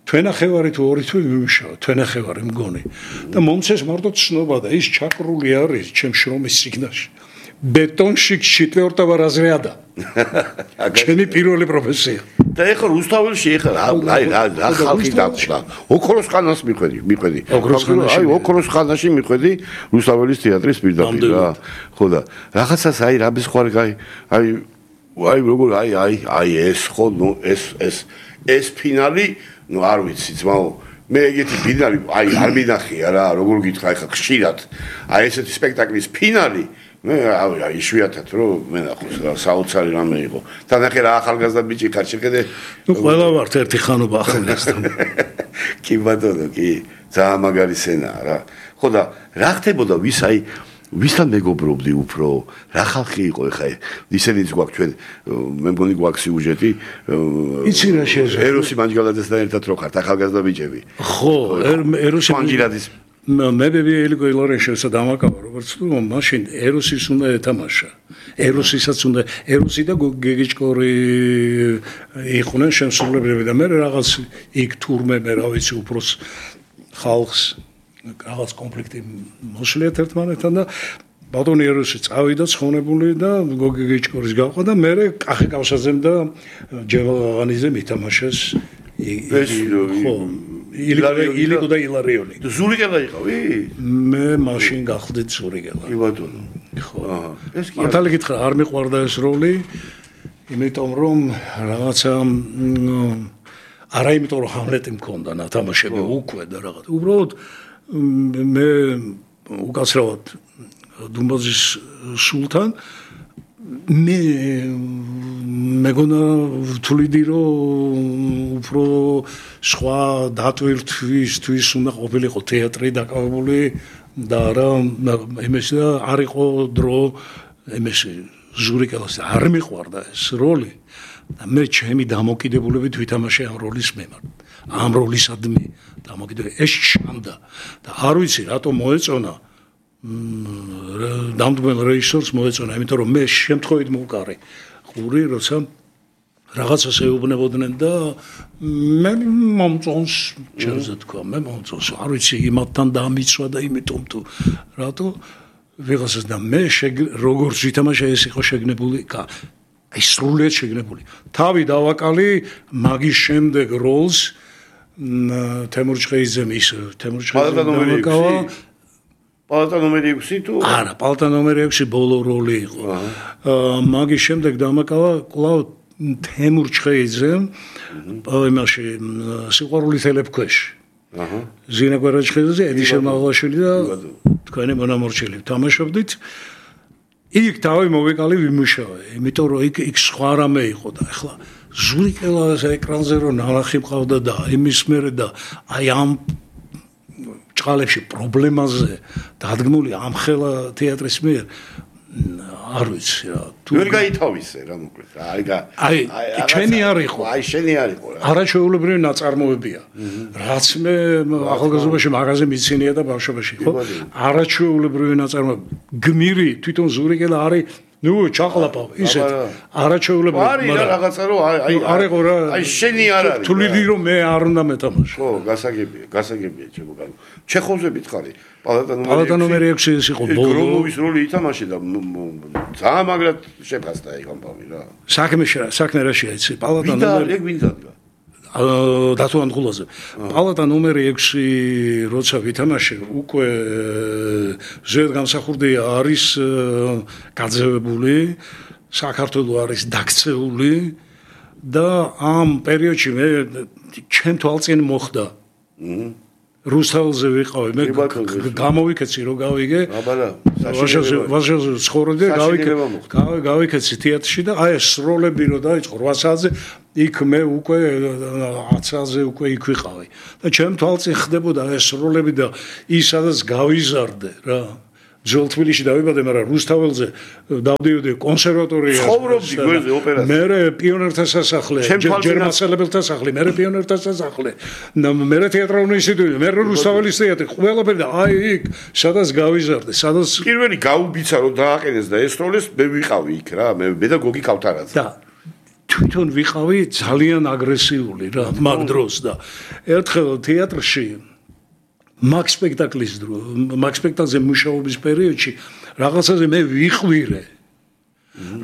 თვენახევარი თუ 2 თვე მიმუშავა თვენახევარი მგონი და მომცეს მარტო ცნობა და ის ჩაკრული არის ჩემ შრომის სიგნალში ბეტონში 4-ე რაზრიადა ჩემი პირველი პროფესია
და ეხლა რუსთაველში ეხლა რა ხალხი დაწყდა ოქროს ხანას მიხვედი აი ოქროს ხანაში მიხვედი რუსთაველის თეატრის პირდაპირ რა ხო და რაღაცას აი რა ბისხვარი აი როგორ აი ეს ხო ნუ ეს ფინალი ნუ არ ვიცი ძმაო მე ეგეთი ფინალი აი არ მინახია რა როგორ გითხრა ეხლა ხშირად აი ესეთი სპექტაკლის ფინალი მე აი შვიათად რომ მე ნახოს რა საოცარი რამე იყო და ნახე რა ახალგაზრდა ბიჭი ხარ შეხედე
ნუ ყველა ვართ ერთი ხანობა ახალგაზრდა
კი ბატონო კი ძალიან მაგარი სცენაა რა ხო და რა ხდებოდა ვისთან მეგობრობდი უფრო რა ხალხი იყო ეხა ისენიც გვაქვს ჩვენ მე მგონი გვაქვს სიუჟეტი
იცი რა შეეძლო
ეროსი მანჯგალაძესთან ერთად რო ხართ ახალგაზრდა ბიჭები
ხო ეროსი
მანჯგალაძის
მე ელიგო ილორენშევსა დამაკავა როგორც თუ მაშინ ეროსის უნდა ეთამაშა ეროსისაც უნდა ეროსი და გეგიჭკორი იყვნენ შემსრულებლები და მე რაღაც იქ თურმე მე რა ვიცი უფროს ხალხს რაღაც კონფლიქტი მოსuliet ერთმანეთთან და ბატონი ეროსი წავიდა ცხონებული და გეგიჭკორის გავყვა და მე კახი კავსაძემ და ჯევაღანიძემ ითამაშეს ხო ილიგო და ილარიონი.
ზურიგელა იყავი?
მე მაშინ გახდით ზურიგელა.
კი ბატონო.
ხო. ეს კი მართალი გითხრა არ მიყვარდა ეს როლი, იმიტომ რომ რაღაცა არა იმიტომ რომ ჰამლეტი მქონდა ნათამაშები უკვე და რაღაც. უბრალოდ მე უკაცრავად დუმბაზის სულთან მე მეგონა ვთვლიდი რომ უფრო სხვა დატვირთვისთვის უნდა ყოფილიყო თეატრი დაკავებული და არა იმის და არ იყო დრო იმის ზურიკელას არ მიყვარდა ეს როლი და მე ჩემი დამოკიდებულებით ვითამაშე ამ როლის მიმართ ამ როლისადმი დამოკიდებული ეს შანდა და არ ვიცი რატომ მოეწონა დამდგმელ რეჟისორს მოეწონა იმიტომ რომ მე შემთხვევით მოვკარე ყური როცა რაღაცას ეუბნებოდნენ და მე მომწონს ჩემზე თქვა მე მომწონს არ ვიცი იმათთან დამიცვა და იმიტომ თუ რატო ვიღაცას და მე როგორც ვითამაშე ეს იყო შეგნებული აი სრულიად შეგნებული თავი დავაკალი მაგის შემდეგ როლს თემურ ჭყეიძემ ის თემურ ჭყეიძემ დავაკავა
პალატა ნომერი 6 თუ
არა პალატა ნომერი 6 ბოლო როლი იყო მაგის შემდეგ დამაკავა კვლავ თემურ ჭყეიძემ იმაში სიყვარული თელეფქვეშ ზინა კვარაჩხელიძე ედიშერ მაღლაშვილი და თქვენი მონამორჩილი თამაშობდით იქ თავი მოვეკალი ვიმუშავე იმიტომ რომ იქ სხვა რამე იყო და ახლა ზურიკელას ეკრანზე რომ ნალახი მყავდა და იმის მერე და აი ამ ჭყალებში პრობლემაზე დადგმული ამ ხელა თეატრის მიერ არ ვიცი რა
თუ ვერ გაითავისე რა მოკლედ
აი ჩვენი არ იყო
აი შენი არ იყო რა
არაჩვეულებრივი ნაწარმოებია რაც მე ახალგაზრდობაში მაღაზე მიცინია და ბავშვობაში ხო არაჩვეულებრივი ნაწარმოები გმირი თვითონ ზურიკელა არის ნუ ჩაყლაპავ ისეთ არაჩვეულებრივი
არის რაღაცა რომ
არ იყო რა
აი შენი არ არის
თuliდი რომ მე არ უნდა მეთამაშო
ხო გასაგებია ჩემო გან ჩეხოვზე მითხარი
პალატა ნომერი 6 ის იყო
გრომოვის როლი ითამაშე და ძალიან მაგრად შეფასდა ეგ ამბავი რა
საქმე რა შეიცი პალატა ნომერი
ეგ ვინ დადგა
დათო ანღულაძე პალატა ნომერი 6 როცა ვითამაშე უკვე ზედ გამსახურდი არის გაძევებული საქართველოს არის დაქცეული და ამ პერიოდში მე ჩემ თვალწინ მოხდა რუსთაველზე ვიყავი მე გამოვიქეცი რომ გავიგე ვაშაზე ცხოვრობდი გავიქეცი თეატრში და აი ეს როლები რო დაიწყო 8 საათზე იქ მე უკვე 10 საათზე უკვე იქ ვიყავი და ჩემ თვალწინ ხდებოდა ეს როლები და ის სადაც გავიზარდე რა ძველ თბილისში დავიბადე, მაგრამ რუსთაველზე დავდიოდი კონსერვატორიაში.
ცხოვრობდი გვერდზე ოპერაში.
მე პიონერთა სასახლე, ჯერმასელებელთა სასახლე, მე პიონერთა სასახლე. მე თეატრალური ინსტიტუტი, მე რუსთაველის თეატრი, ყველაფერი და აი იქ, სადაც გავიზარდე, სადაც
პირველი გაუბიცა რომ დააყენეს და ეს როლეს მე ვიყავი იქ რა, მე და გოგი კავთარაძე.
და თვითონ ვიყავი ძალიან აგრესიული რა, მაგ დროს და ერთხელ თეატრში მაგ სპექტაკლზე მუშაობის პერიოდში რაღაცაზე მე ვიყვირე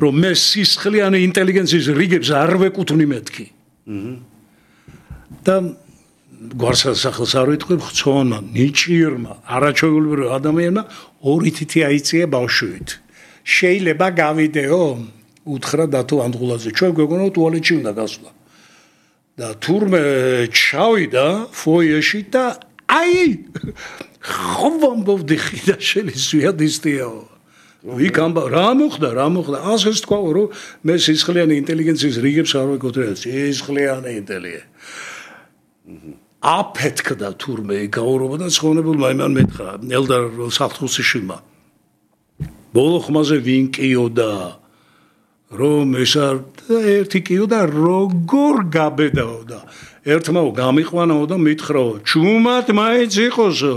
რომ მე სისხლიანი ინტელიგენციის რიგებს არ ვეკუთვნი მეთქი და გვარსახელს არ ვიტყვი ხცონა ნიჭიერმა არაჩვეულებრივ ადამიანმა 2 თითი აიწია ბავშვით შეიძლება გავიდეო უთხრა დათო ანდღულაძე ჩვენ გვეგონა ტუალეტში უნდა გასვლა და თურმე ჩავიდა ფოიეში და აი ხომბობდი ხიდა შეიძლება დისტიაო ვიკამბა რა მოხდა ასეც თქვა რომ მე სისხლიანი ინტელიგენციის რიგებს არ ვეკუთვნი სისხლიანი ინტელიგენცია აფეთქდა თურმე გაურობა და ცხონებულმა იმან მეთხრა ელდარ საფრთხუსიშვილმა ბოლო ხმაზე ვინ კიოდა რომ ეს ერთი კიოდა როგორ გაბედაოდა ერთმა გამიყვანაო და მითხრაო ჩუმად მაინც იყოსო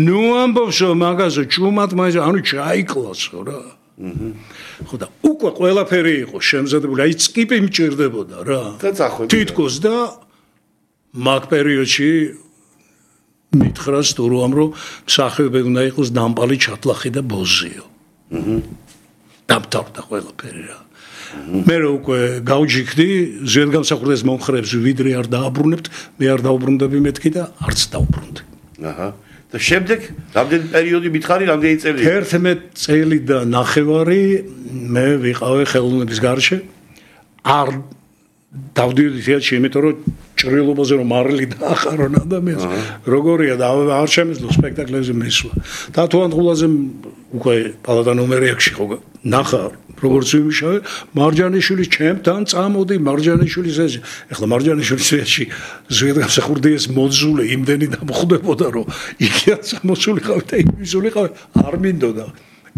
ნუ ამბობსო მაგაზე ჩუმად მაინც ანუ ჩაიკლასო რა ხო და უკვე ყველაფერი იყო შემზადებული აი წკიპი მჭირდებოდა რა თითქოს და მაგ პერიოდში მითხრა სტურუამ რომ მსახიობები უნდა იყოს დამპალი ჩატლახი და ბოზიო დამთავრდა ყველაფერი რა მე უკვე გავჯიქდი ზედგამსახურდეს მომხრეებს ვიდრე არ დააბრუნებთ მე არ დაუბრუნდები მეთქი და არც დაუბრუნდი
აჰა და შემდეგ რამდენი პერიოდი მითხარი რამდენი წელი
11 წელი და ნახევარი მე ვიყავი ხელოვნების გარშე არ დავდიოდი თეატრში იმიტომ რომ ჭრილობაზე რომ მარილი დაახარონ ადამიანს როგორია და არ შემეძლო სპექტაკლებზე მისვლა და თუ ანდღულაძემ უკვე პალატა ნომერ 6-ში ხო ნახა როგორც ვიმუშავე მარჯანიშვილი ჩემთან წამოდი მარჯანიშვილის ეს ეხლა მარჯანიშვილის ესში ზედგამსახურდიეს მოძულე იმდენი დამხვდებოდა რომ იქაც მოსულიყავი და იმისულიყავი არ მინდოდა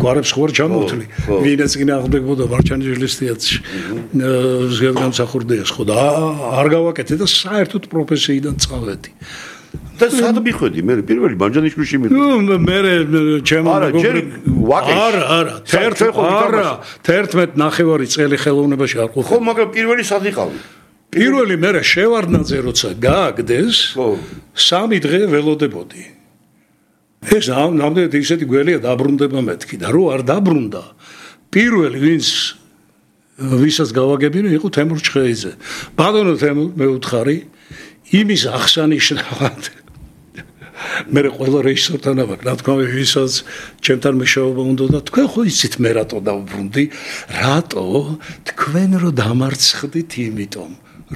გვარებს ხوار ჩამოვთვლი ვინაც გინახდებოდა მარჯანიშვილის თეატრში ზედგამსახურდიეს ხო და არ გავაკეთე და საერთოდ პროფესიიდან წავედი
და სად მიხვედი მე პირველი მარჯანიშვილში
მივედი მე ჩემო არა 11 ნახევარი წელი ხელოვნებაში არ ყოფილი
ხო მაგრამ პირველი სად იყავი
პირველი მე შევარდნაძე როცა გააგდეს 3 დღე ველოდებოდი ეს ნამდვილად ისეთი გველია დაბრუნდება მეთქი და რო არ დაბრუნდა პირველი ვისაც გავაგებინე იყო თემურ ჩხეიძე ბატონო თემურ მე უთხარი იმის აღსანიშნავად მე ყველა რეჟისორთან ვარ რა თქმა უნდა ვისაც ჩემთან მეშაობა უნდა და თქვენ ხო იცით მე რატო დავბრუნდი რატო თქვენ რო დამარცხდით იმიტომ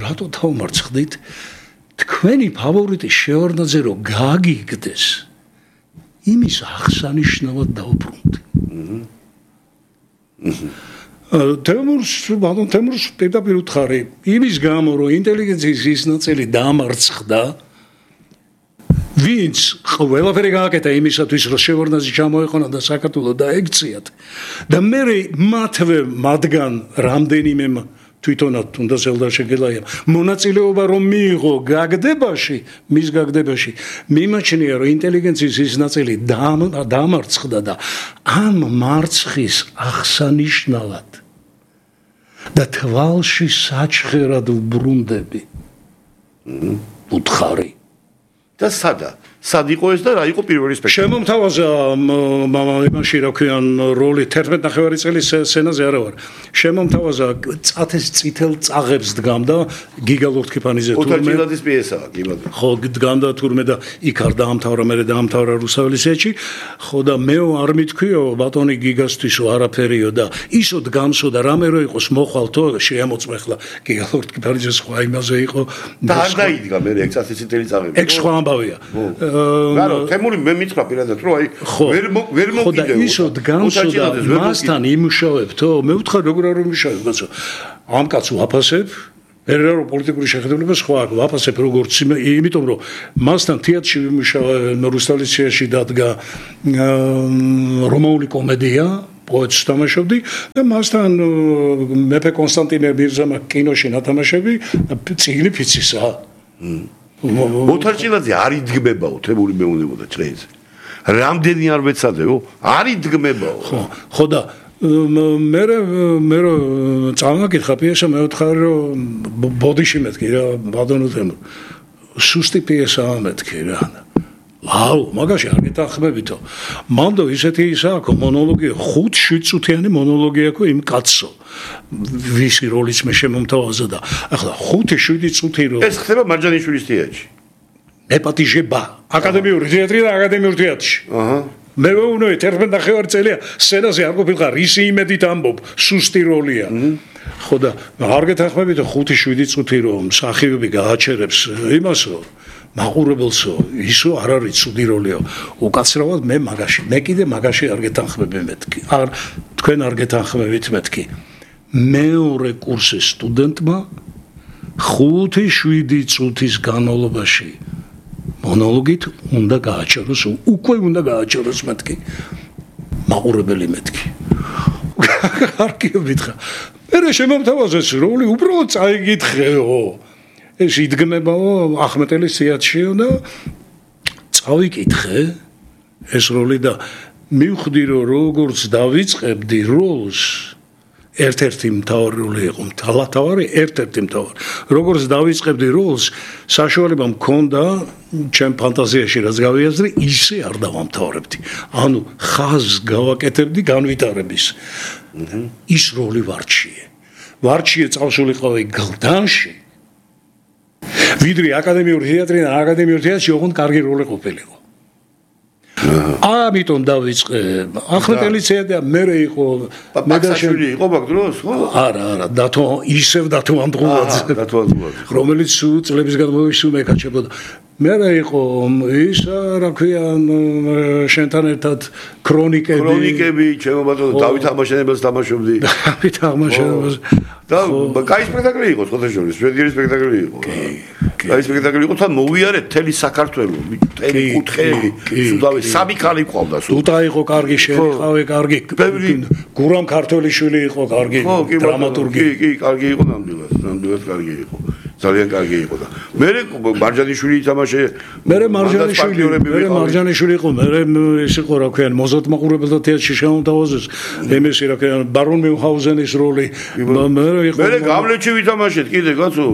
რატო დავმარცხდით თქვენი ფავორიტი შევარდნაძე რო გააგიგდეს იმის აღსანიშნავად დავბრუნდი თემურს პირდაპირ უთხარი იმის გამო რომ ინტელიგენციის ის ნაწილი დამარცხდა ვინც ყველაფერი გააკეთა იმისათვის რომ შევარდნაძე ჩამოეყონა და საქართველოს დაექციათ და მე მათვე მათგან რამდენიმე თვითონად თუნდაც ელდარ შეგელაიამ მონაწილეობა რომ მიიღო გაგდებაში მის გაგდებაში მიმაჩნია რომ ინტელიგენციის ის ნაწილი დამარცხდა და ამ მარცხის აღსანიშნავად და თვალში საჩხერად ვბრუნდები უთხარი
და სად იყო ეს და რა იყო პირველი სპექტაკლი
შემომთავაზა იმაში რა ქვიან როლი 11 ნახევარი წელი სცენაზე არა ვარ შემომთავაზა წათეს წითელ წაღებს დგამდა გიგა ლორთქიფანიძე
თურმე ოთარჯილაძის პიესაა გიგა
ხო დგამდა თურმე და იქ არ დაამთავრა მე დაამთავრა რუსთაველის ეჭი ხო და მე არ მithქვიო ბატონი გიგასთვისო არაფერიო და ისო დგამსო და რამე რო იყოს მოხვალთო შეამოწმეხლა გიგა ლორთქიფანიძე სხვა იმაზე იყო
და არ დაიდგა მე 6 წელი წაღები
ეგ სხვა ამბავია
გარო თემური მე მითხრა პირადად რომ აი ვერ მოკიდეო
ისო დგანსო და მასთან იმუშავებთო მე ვთხარ როგორ არ იმუშავებ კაცო ამ კაცს ვაფასებ ერერო პოლიტიკური შეხედულება სხვა აქვს ვაფასებ როგორც იმიტომ რომ მასთან თეატრში ვიმუშავე რუსთაველიციაში დადგა რომაული კომედია პოეტს თამაშობდი და მასთან მეფე კონსტანტინე მირზამა კინოში ნათამაშები წიგნი ფიცისა
მოთარჭილაძე არ იდგმებაო თემური მეუნებოდა ჭრეზე რამდენი არ მეცადეო არ იდგმებაო
ხო და მე წამაკითხა პიესა მე ვთხარი რომ ბოდიში მეთქი რა ბადონო თემურ სუსტი პიესაა მეთქი რა აუ მაგაში არ გეთანხმებითო მანდო ისეთი ისაა მონოლოგი 5-7 წუთიანი მონოლოგი აქვს იმ კაცო ვისი როლიც მე შემომთავაზა და ახლა 5-7 წუთი რო
ეს ხდება მარჯანიშვილის თეატრში
ეპატიჟება აკადემიური თეატრი და აკადემიური თეატრში აჰა მე ვუნოე 11 წელია სცენაზე არ ყოფილიყარ ისი იმედით ამბობ სუსტი როლია ხო და არ გეთანხმებითო 5-7 წუთი რომ მსახიობი გააჩერებს იმასო მაყურებელსო ისო არ არის ცუდი როლიო უკაცრავად მე კიდე მაგაში არ გეთანხმები მეთქი არ თქვენ არ გეთანხმებით მეთქი მეორე კურსის სტუდენტმა 5-7 წუთის განმავლობაში მონოლოგით უნდა გააჩეროს უკვე უნდა გააჩეროს მეთქი მაყურებელი მეთქი არ გივითხრა მე შემომთავაზეს როლი უბრალოდ წაიგითხეო ეს იდგმებაო ახმეტელის თეატრშიო და წავიკითხე ეს როლი და მივხვდი რომ როგორც დავიწყებდი როლს ერთ-ერთი მთავარი როლი იყო მთავარი ერთ-ერთი მთავარი როგორც დავიწყებდი როლს საშუალება მქონდა ჩემ ფანტაზიაში რაც გავიაზრე ისე არ დავამთავრებდი ანუ ხაზს გავაკეთებდი განვითარების ის როლი ვარჩიე წავსულიყავი გლდანში ვიდრე აკადემიური თეატრი და აკადემიური თეატრში ოღონდ კარგი როლი ყოფილიყო ამიტომ დავიწყე ახმეტელის თეატრია მე იყო
მედაშვილი იყო მაგ დროს ხო
არა ისევ დათო ანდღულაძე რომელიც წლების განმავლობაში მეკაჩებოდა მე იყო ის რა ქვია შენთან ერთად ქრონიკები
ჩემო ბატონო დავით აღმაშენებელს თამაშობდი
დავით აღმაშენებელს
და კაი სპექტაკლი იყო ხოთაშორის შვედური სპექტაკლი იყო კაი სპექტაკლი იყო თან მოვიარე თელი საქართველო თელი კუთხეები სუდავე სამი ქალი ყავდა
თუთა იყო კარგი შენიყავე კარგი გურამ ქართველიშვილი იყო კარგი დრამატურგი
კი კარგი იყო ნამდვილად კარგი იყო ძალიან კარგი იყო და მე მარჯანიშვილი თამაშე
მე მარჯანიშვილი იყო მე ეს იყო რა ქვია მოზარდ მაყურებელთა თეატრში შემომთავაზეს იმისი რა ქვია ბარონ მიუნჰაუზენის როლი
მე გამლეჩი ვითამაშეთ კიდე კაცო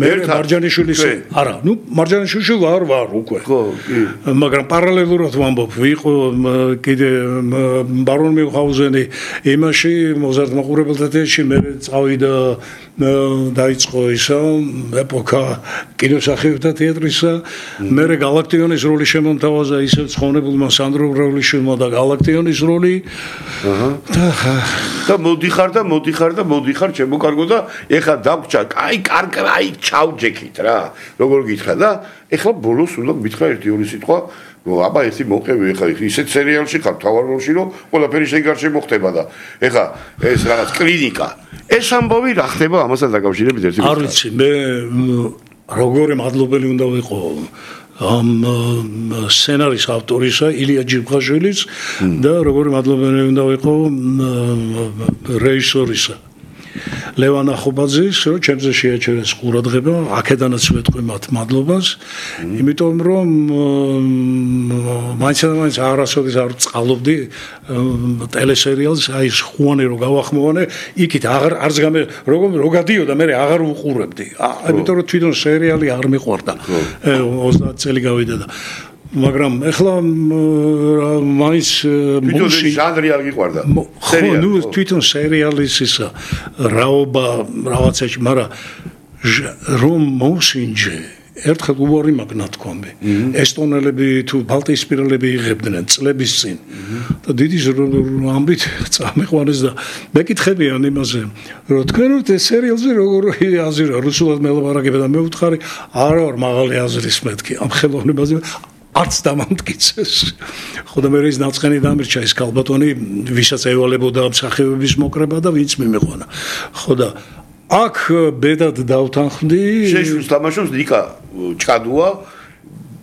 მე მარჯანიშვილის არა ნუ მარჯანიშვილი ვარ უკვე
ხო კი
მაგრამ პარალელურად ვამბობ ვიყო კიდე ბარონ მიუნჰაუზენი იმაში მოზარდ მაყურებელთა თეატრში მე წავიდა დაიწყო ისა ეპოქა კინოსახიობთა თეატრისა მე გალაქტიონის როლი შემომთავაზა ისევ ცხონებულმა სანდრო ბრავლიშვილმა და გალაქტიონის როლი
და მოდიხარ ჩემო კარგო და ეხა დაგჭა აი ჩავჯექით რა როგორ გითხრა და ეხლა ბოლოს უნდა მითხრა 1-2 სიტყვა აბა ესი მოყევი ეხლა ისეთ სერიალში ხარ თავარ როლში რომ ყველაფერი შეგარშე მოხდება და ეხლა ეს რაღაც კლინიკა ეს ამბავი რა ხდება ამასთან დაკავშირებით ერთი
არ ვიცი მე როგორი მადლობელი უნდა ვიყო ამ სცენარის ავტორისა ილია ჯიბღაშვილის და როგორი მადლობელი უნდა ვიყო რეჟისორისა ლევან ახობაძის რომ ჩემზე შეაჩერეს ყურადღება აქედანაც ვეთქვი მათ მადლობას იმიტომ რომ მაინც არასოდეს არ წყალობდი ტელესერიალს აი ხუანე რო გავახმოვანე იქით არც გამე რო გადიოდა მე აღარ უყურებდი იმიტომ რომ თვითონ სერიალი არ მიყვარდა 30 წელი გავიდა და მაგრამ ეხლა მაინც
მუსიკი ჟანრი არ გიყვარდა
სერიალი ნუ თვითონ სერიალის ისა რაობა რაღაცაში მაგრამ რომ მოსინჯე ერთხელ უარი მაგნათქვამი ესტონელები თუ ბალტიისპირელები იღებდნენ წლების წინ და დიდი ამბით წამიყვანეს და მეკითხებიან იმაზე რომ თქვენ ეს სერიალზე როგორ აზრია რუსულად მელაპარაკება და მე ვუთხარი არა ვარ მაღალი აზრის მეთქი ამ ხელოვნებაზე არც დამამტკიცეს. ხო და მე ის ნაწყენი დამირჩა ის ქალბატონი, ვისაც ევალებოდა მსახიობების მოკრება და ვინც მიმეყვანა. ხო და აქ ბედად დავთანხმდი.
შეშვის თამაშობს ნიკა ჭკადუა.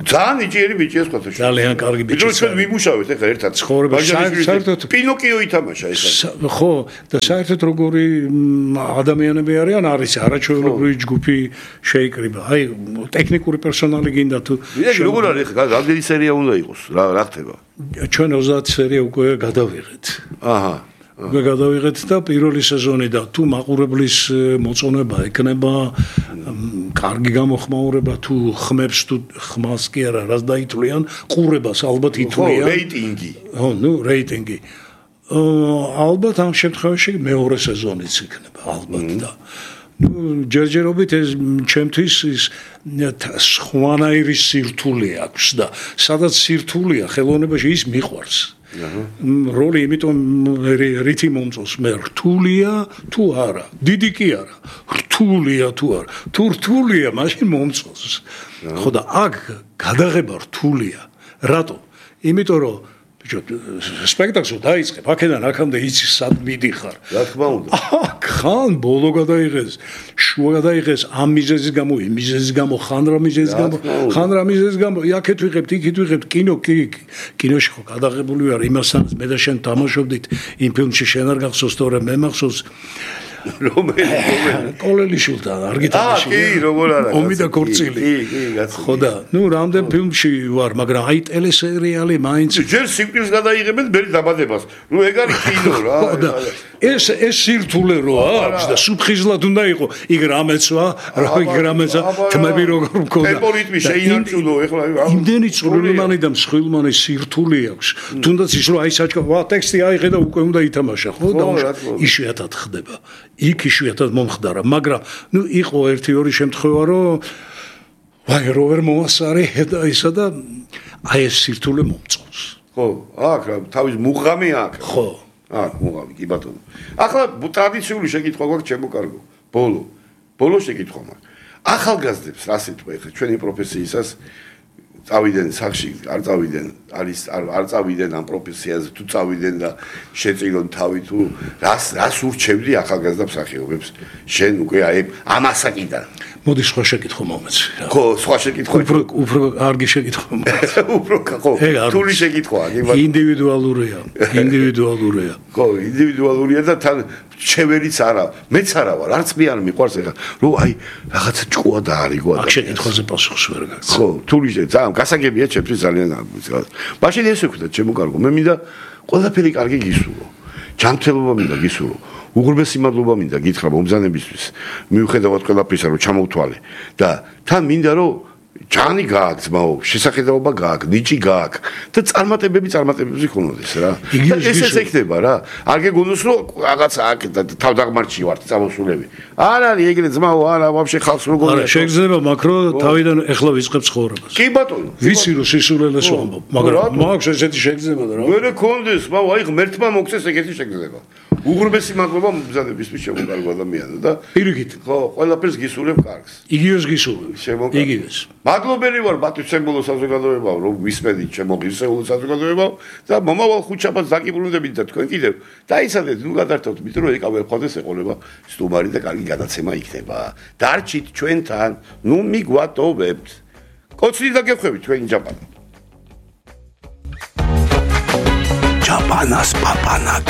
ძალიან იჭიერი ბიჭია სხვა თქო.
ძალიან კარგი ბიჭია.
ჩვენ ვიმუშავეთ ახლა ერთად.
ცხოვრება საერთოდ
პინოკიო ითამაშა ეს.
ხო და საერთოდ როგორი ადამიანები არიან არის არაჩვეულებრივი ჯგუფი შეიკრიბა. აი ტექნიკური პერსონალი გინდა თუ
როგორ არის ახლა რამდენი სერია უნდა იყოს რა ხდება?
ჩვენ 30 სერია უკვე გადავიღეთ.
აჰა.
გადავიღეთ და პირველი სეზონი და თუ მაყურებლის მოწონება ეკნება კარგი გამოხმაურება თუ ხმებს თუ ხმას კი არა რას დაითვლიან ყურებას ალბათ ითვლიან
რეიტინგი
ხო ნუ რეიტინგი ალბათ ამ შემთხვევაში მეორე სეზონიც იქნება ალბათ და ნუ ჯერჯერობით ეს ჩემთვის ის სხვანაირი სირთულე აქვს და სადაც სირთულეა ხელოვნებაში ის მიყვარს როლი იმიტომ რითი მომწონს მე რთულია თუ არა დიდი კი არა რთულია თუ არა თუ რთულია მაშინ მომწონს ხო და აქ გადაღება რთულია რატო იმიტომ რომ სპექტაკლს დაიწყებ აქედან აქამდე იცი სად მიდიხარ
რა თქმა უნდა
ხან ბოლო გადაიღეს შუა გადაიღეს ამ მიზეზის გამო იმ მიზეზის გამო ხან რა მიზეზის გამო ხან რა მიზეზის გამო იქეთ ვიღებთ იქით ვიღებთ კინოში ხო გადაღებული ვარ იმასაც მე და შენ თამაშობდით იმ ფილმში შენ არ გახსოვს თორე მე მახსოვს რომელი კოლელიშვილთან არ გითამაში
კი როგორ არა
ომი და ქორწილი
კი
ხო და ნუ რამდენ ფილმში ვარ მაგრამ აი ტელესერიალი მაინც
ჯერ სიკვდილს გადაიღებენ მე დაბადებას ნუ ეგ არის კინო რა
ეს სირთულე რო აქვს და სუფხიზლად უნდა იყო იქ რამეცვა თმები როგორ მქონდა
ტემპო რიტმი შეინარჩუნო ეხლა
იმდენი წვრილმანი და მსხვილმანი სირთულე აქვს თუნდაც ის რომ აი საჭკა ვა ტექსტი აიღე და უკვე უნდა ითამაშა ხო და იშვიათად ხდება იქ იშვიათად მომხდარა მაგრამ ნუ იყო 1-2 შემთხვევა რომ ვაი რო ვერ მოასარე და ისა და აი ეს სირთულე მომწონს
ხო აქ თავის მუღამი აქ
ხო
აქ მუღამი კი ბატონო ახლა ტრადიციული შეკითხვა გვაქვს ჩემო კარგო ბოლო შეკითხვა მაქვს ახალგაზრდებს რა სიტყვა ეხლა ჩვენი პროფესიისას წავიდნენ სახში არ წავიდნენ არ წავიდნენ ამ პროფესიაზე თუ წავიდნენ და შეწილონ თავი თუ რას ურჩევდი ახალგაზრდა მსახიობებს შენ უკვე აი ამ ასაკიდან
მოდი სხვა შეკითხვა მომეცი
ხო სხვა შეკითხვა
უფრო კარგი შეკითხვა
უფრო ხო თული შეკითხვაა
ინდივიდუალურია
ხო ინდივიდუალურია და თან შევერიც არა მეც არა ვარ არც მე არ მიყვარს ეხლა რომ აი რაღაცა ჭკუა და არიგო
აქ შეკითხვაზე პასუხს ვერ გაგცემ
ხო თული ძალიან გასაგებია ჩემთვის ძალიან მაშინ ეს ვქნა ჩემო კარგო მე მინდა ყველაფერი კარგი გისურვო ჯანმრთელობა მინდა გისურვო უღრმესი მადლობა მინდა გითხრა მომბრძანებისთვის მიუხედავად ყველაფრისა რომ ჩამოვთვალე და თან მინდა რომ ჯანი გააქვს ძმაო შესახედაობა გააქვს ნიჭი გააქვს და წარმატებები ხონოდეს რა და ეს ეკნება რა არ გეგონოს რომ რაღაცა აქ თავდაღმართში ვარ წამოსულები არ არის ეგრე ძმაო არა ვაფშე ხალხს როგორია
შეგრძნება მაკრო თავიდან ეხლა ვიწყებ ცხოვრებას
კი ბატონო
ვიცი რომ სისულელეს ვამბობ მაგრამ მაქვს ესეთი შეგრძნება და რა
ვერ გქონდეს მაო აი ღმერთმა მოგცეს ეგეთი შეგრძნება უღრმესი მადლობა მომბრძანებისთვის შემოგარგო ადამიანო და
პირიქით
ხო ყველაფერს გისურვებ კარგს
იგივეს გისურვებ იგივეს
მადლობელი ვარ ბატონო საზოგადოებაო რომ ვისმენით ჩემო ღირსეულო საზოგადოებაო და მომავალ ხუთშაბათს დაკიბრუნდებით და თქვენ კიდევ დაიცადეთ ნუ გადართავთ იმიტომ რომ ეკავე ხოდეს ეყოლება სტუმარი და კარგი გადაცემა იქნება დარჩით ჩვენთან ნუ მიგვატოვებთ კოცრი დაგეხვევით თქვენი ჯაპანა
ჩაპანას პაპანა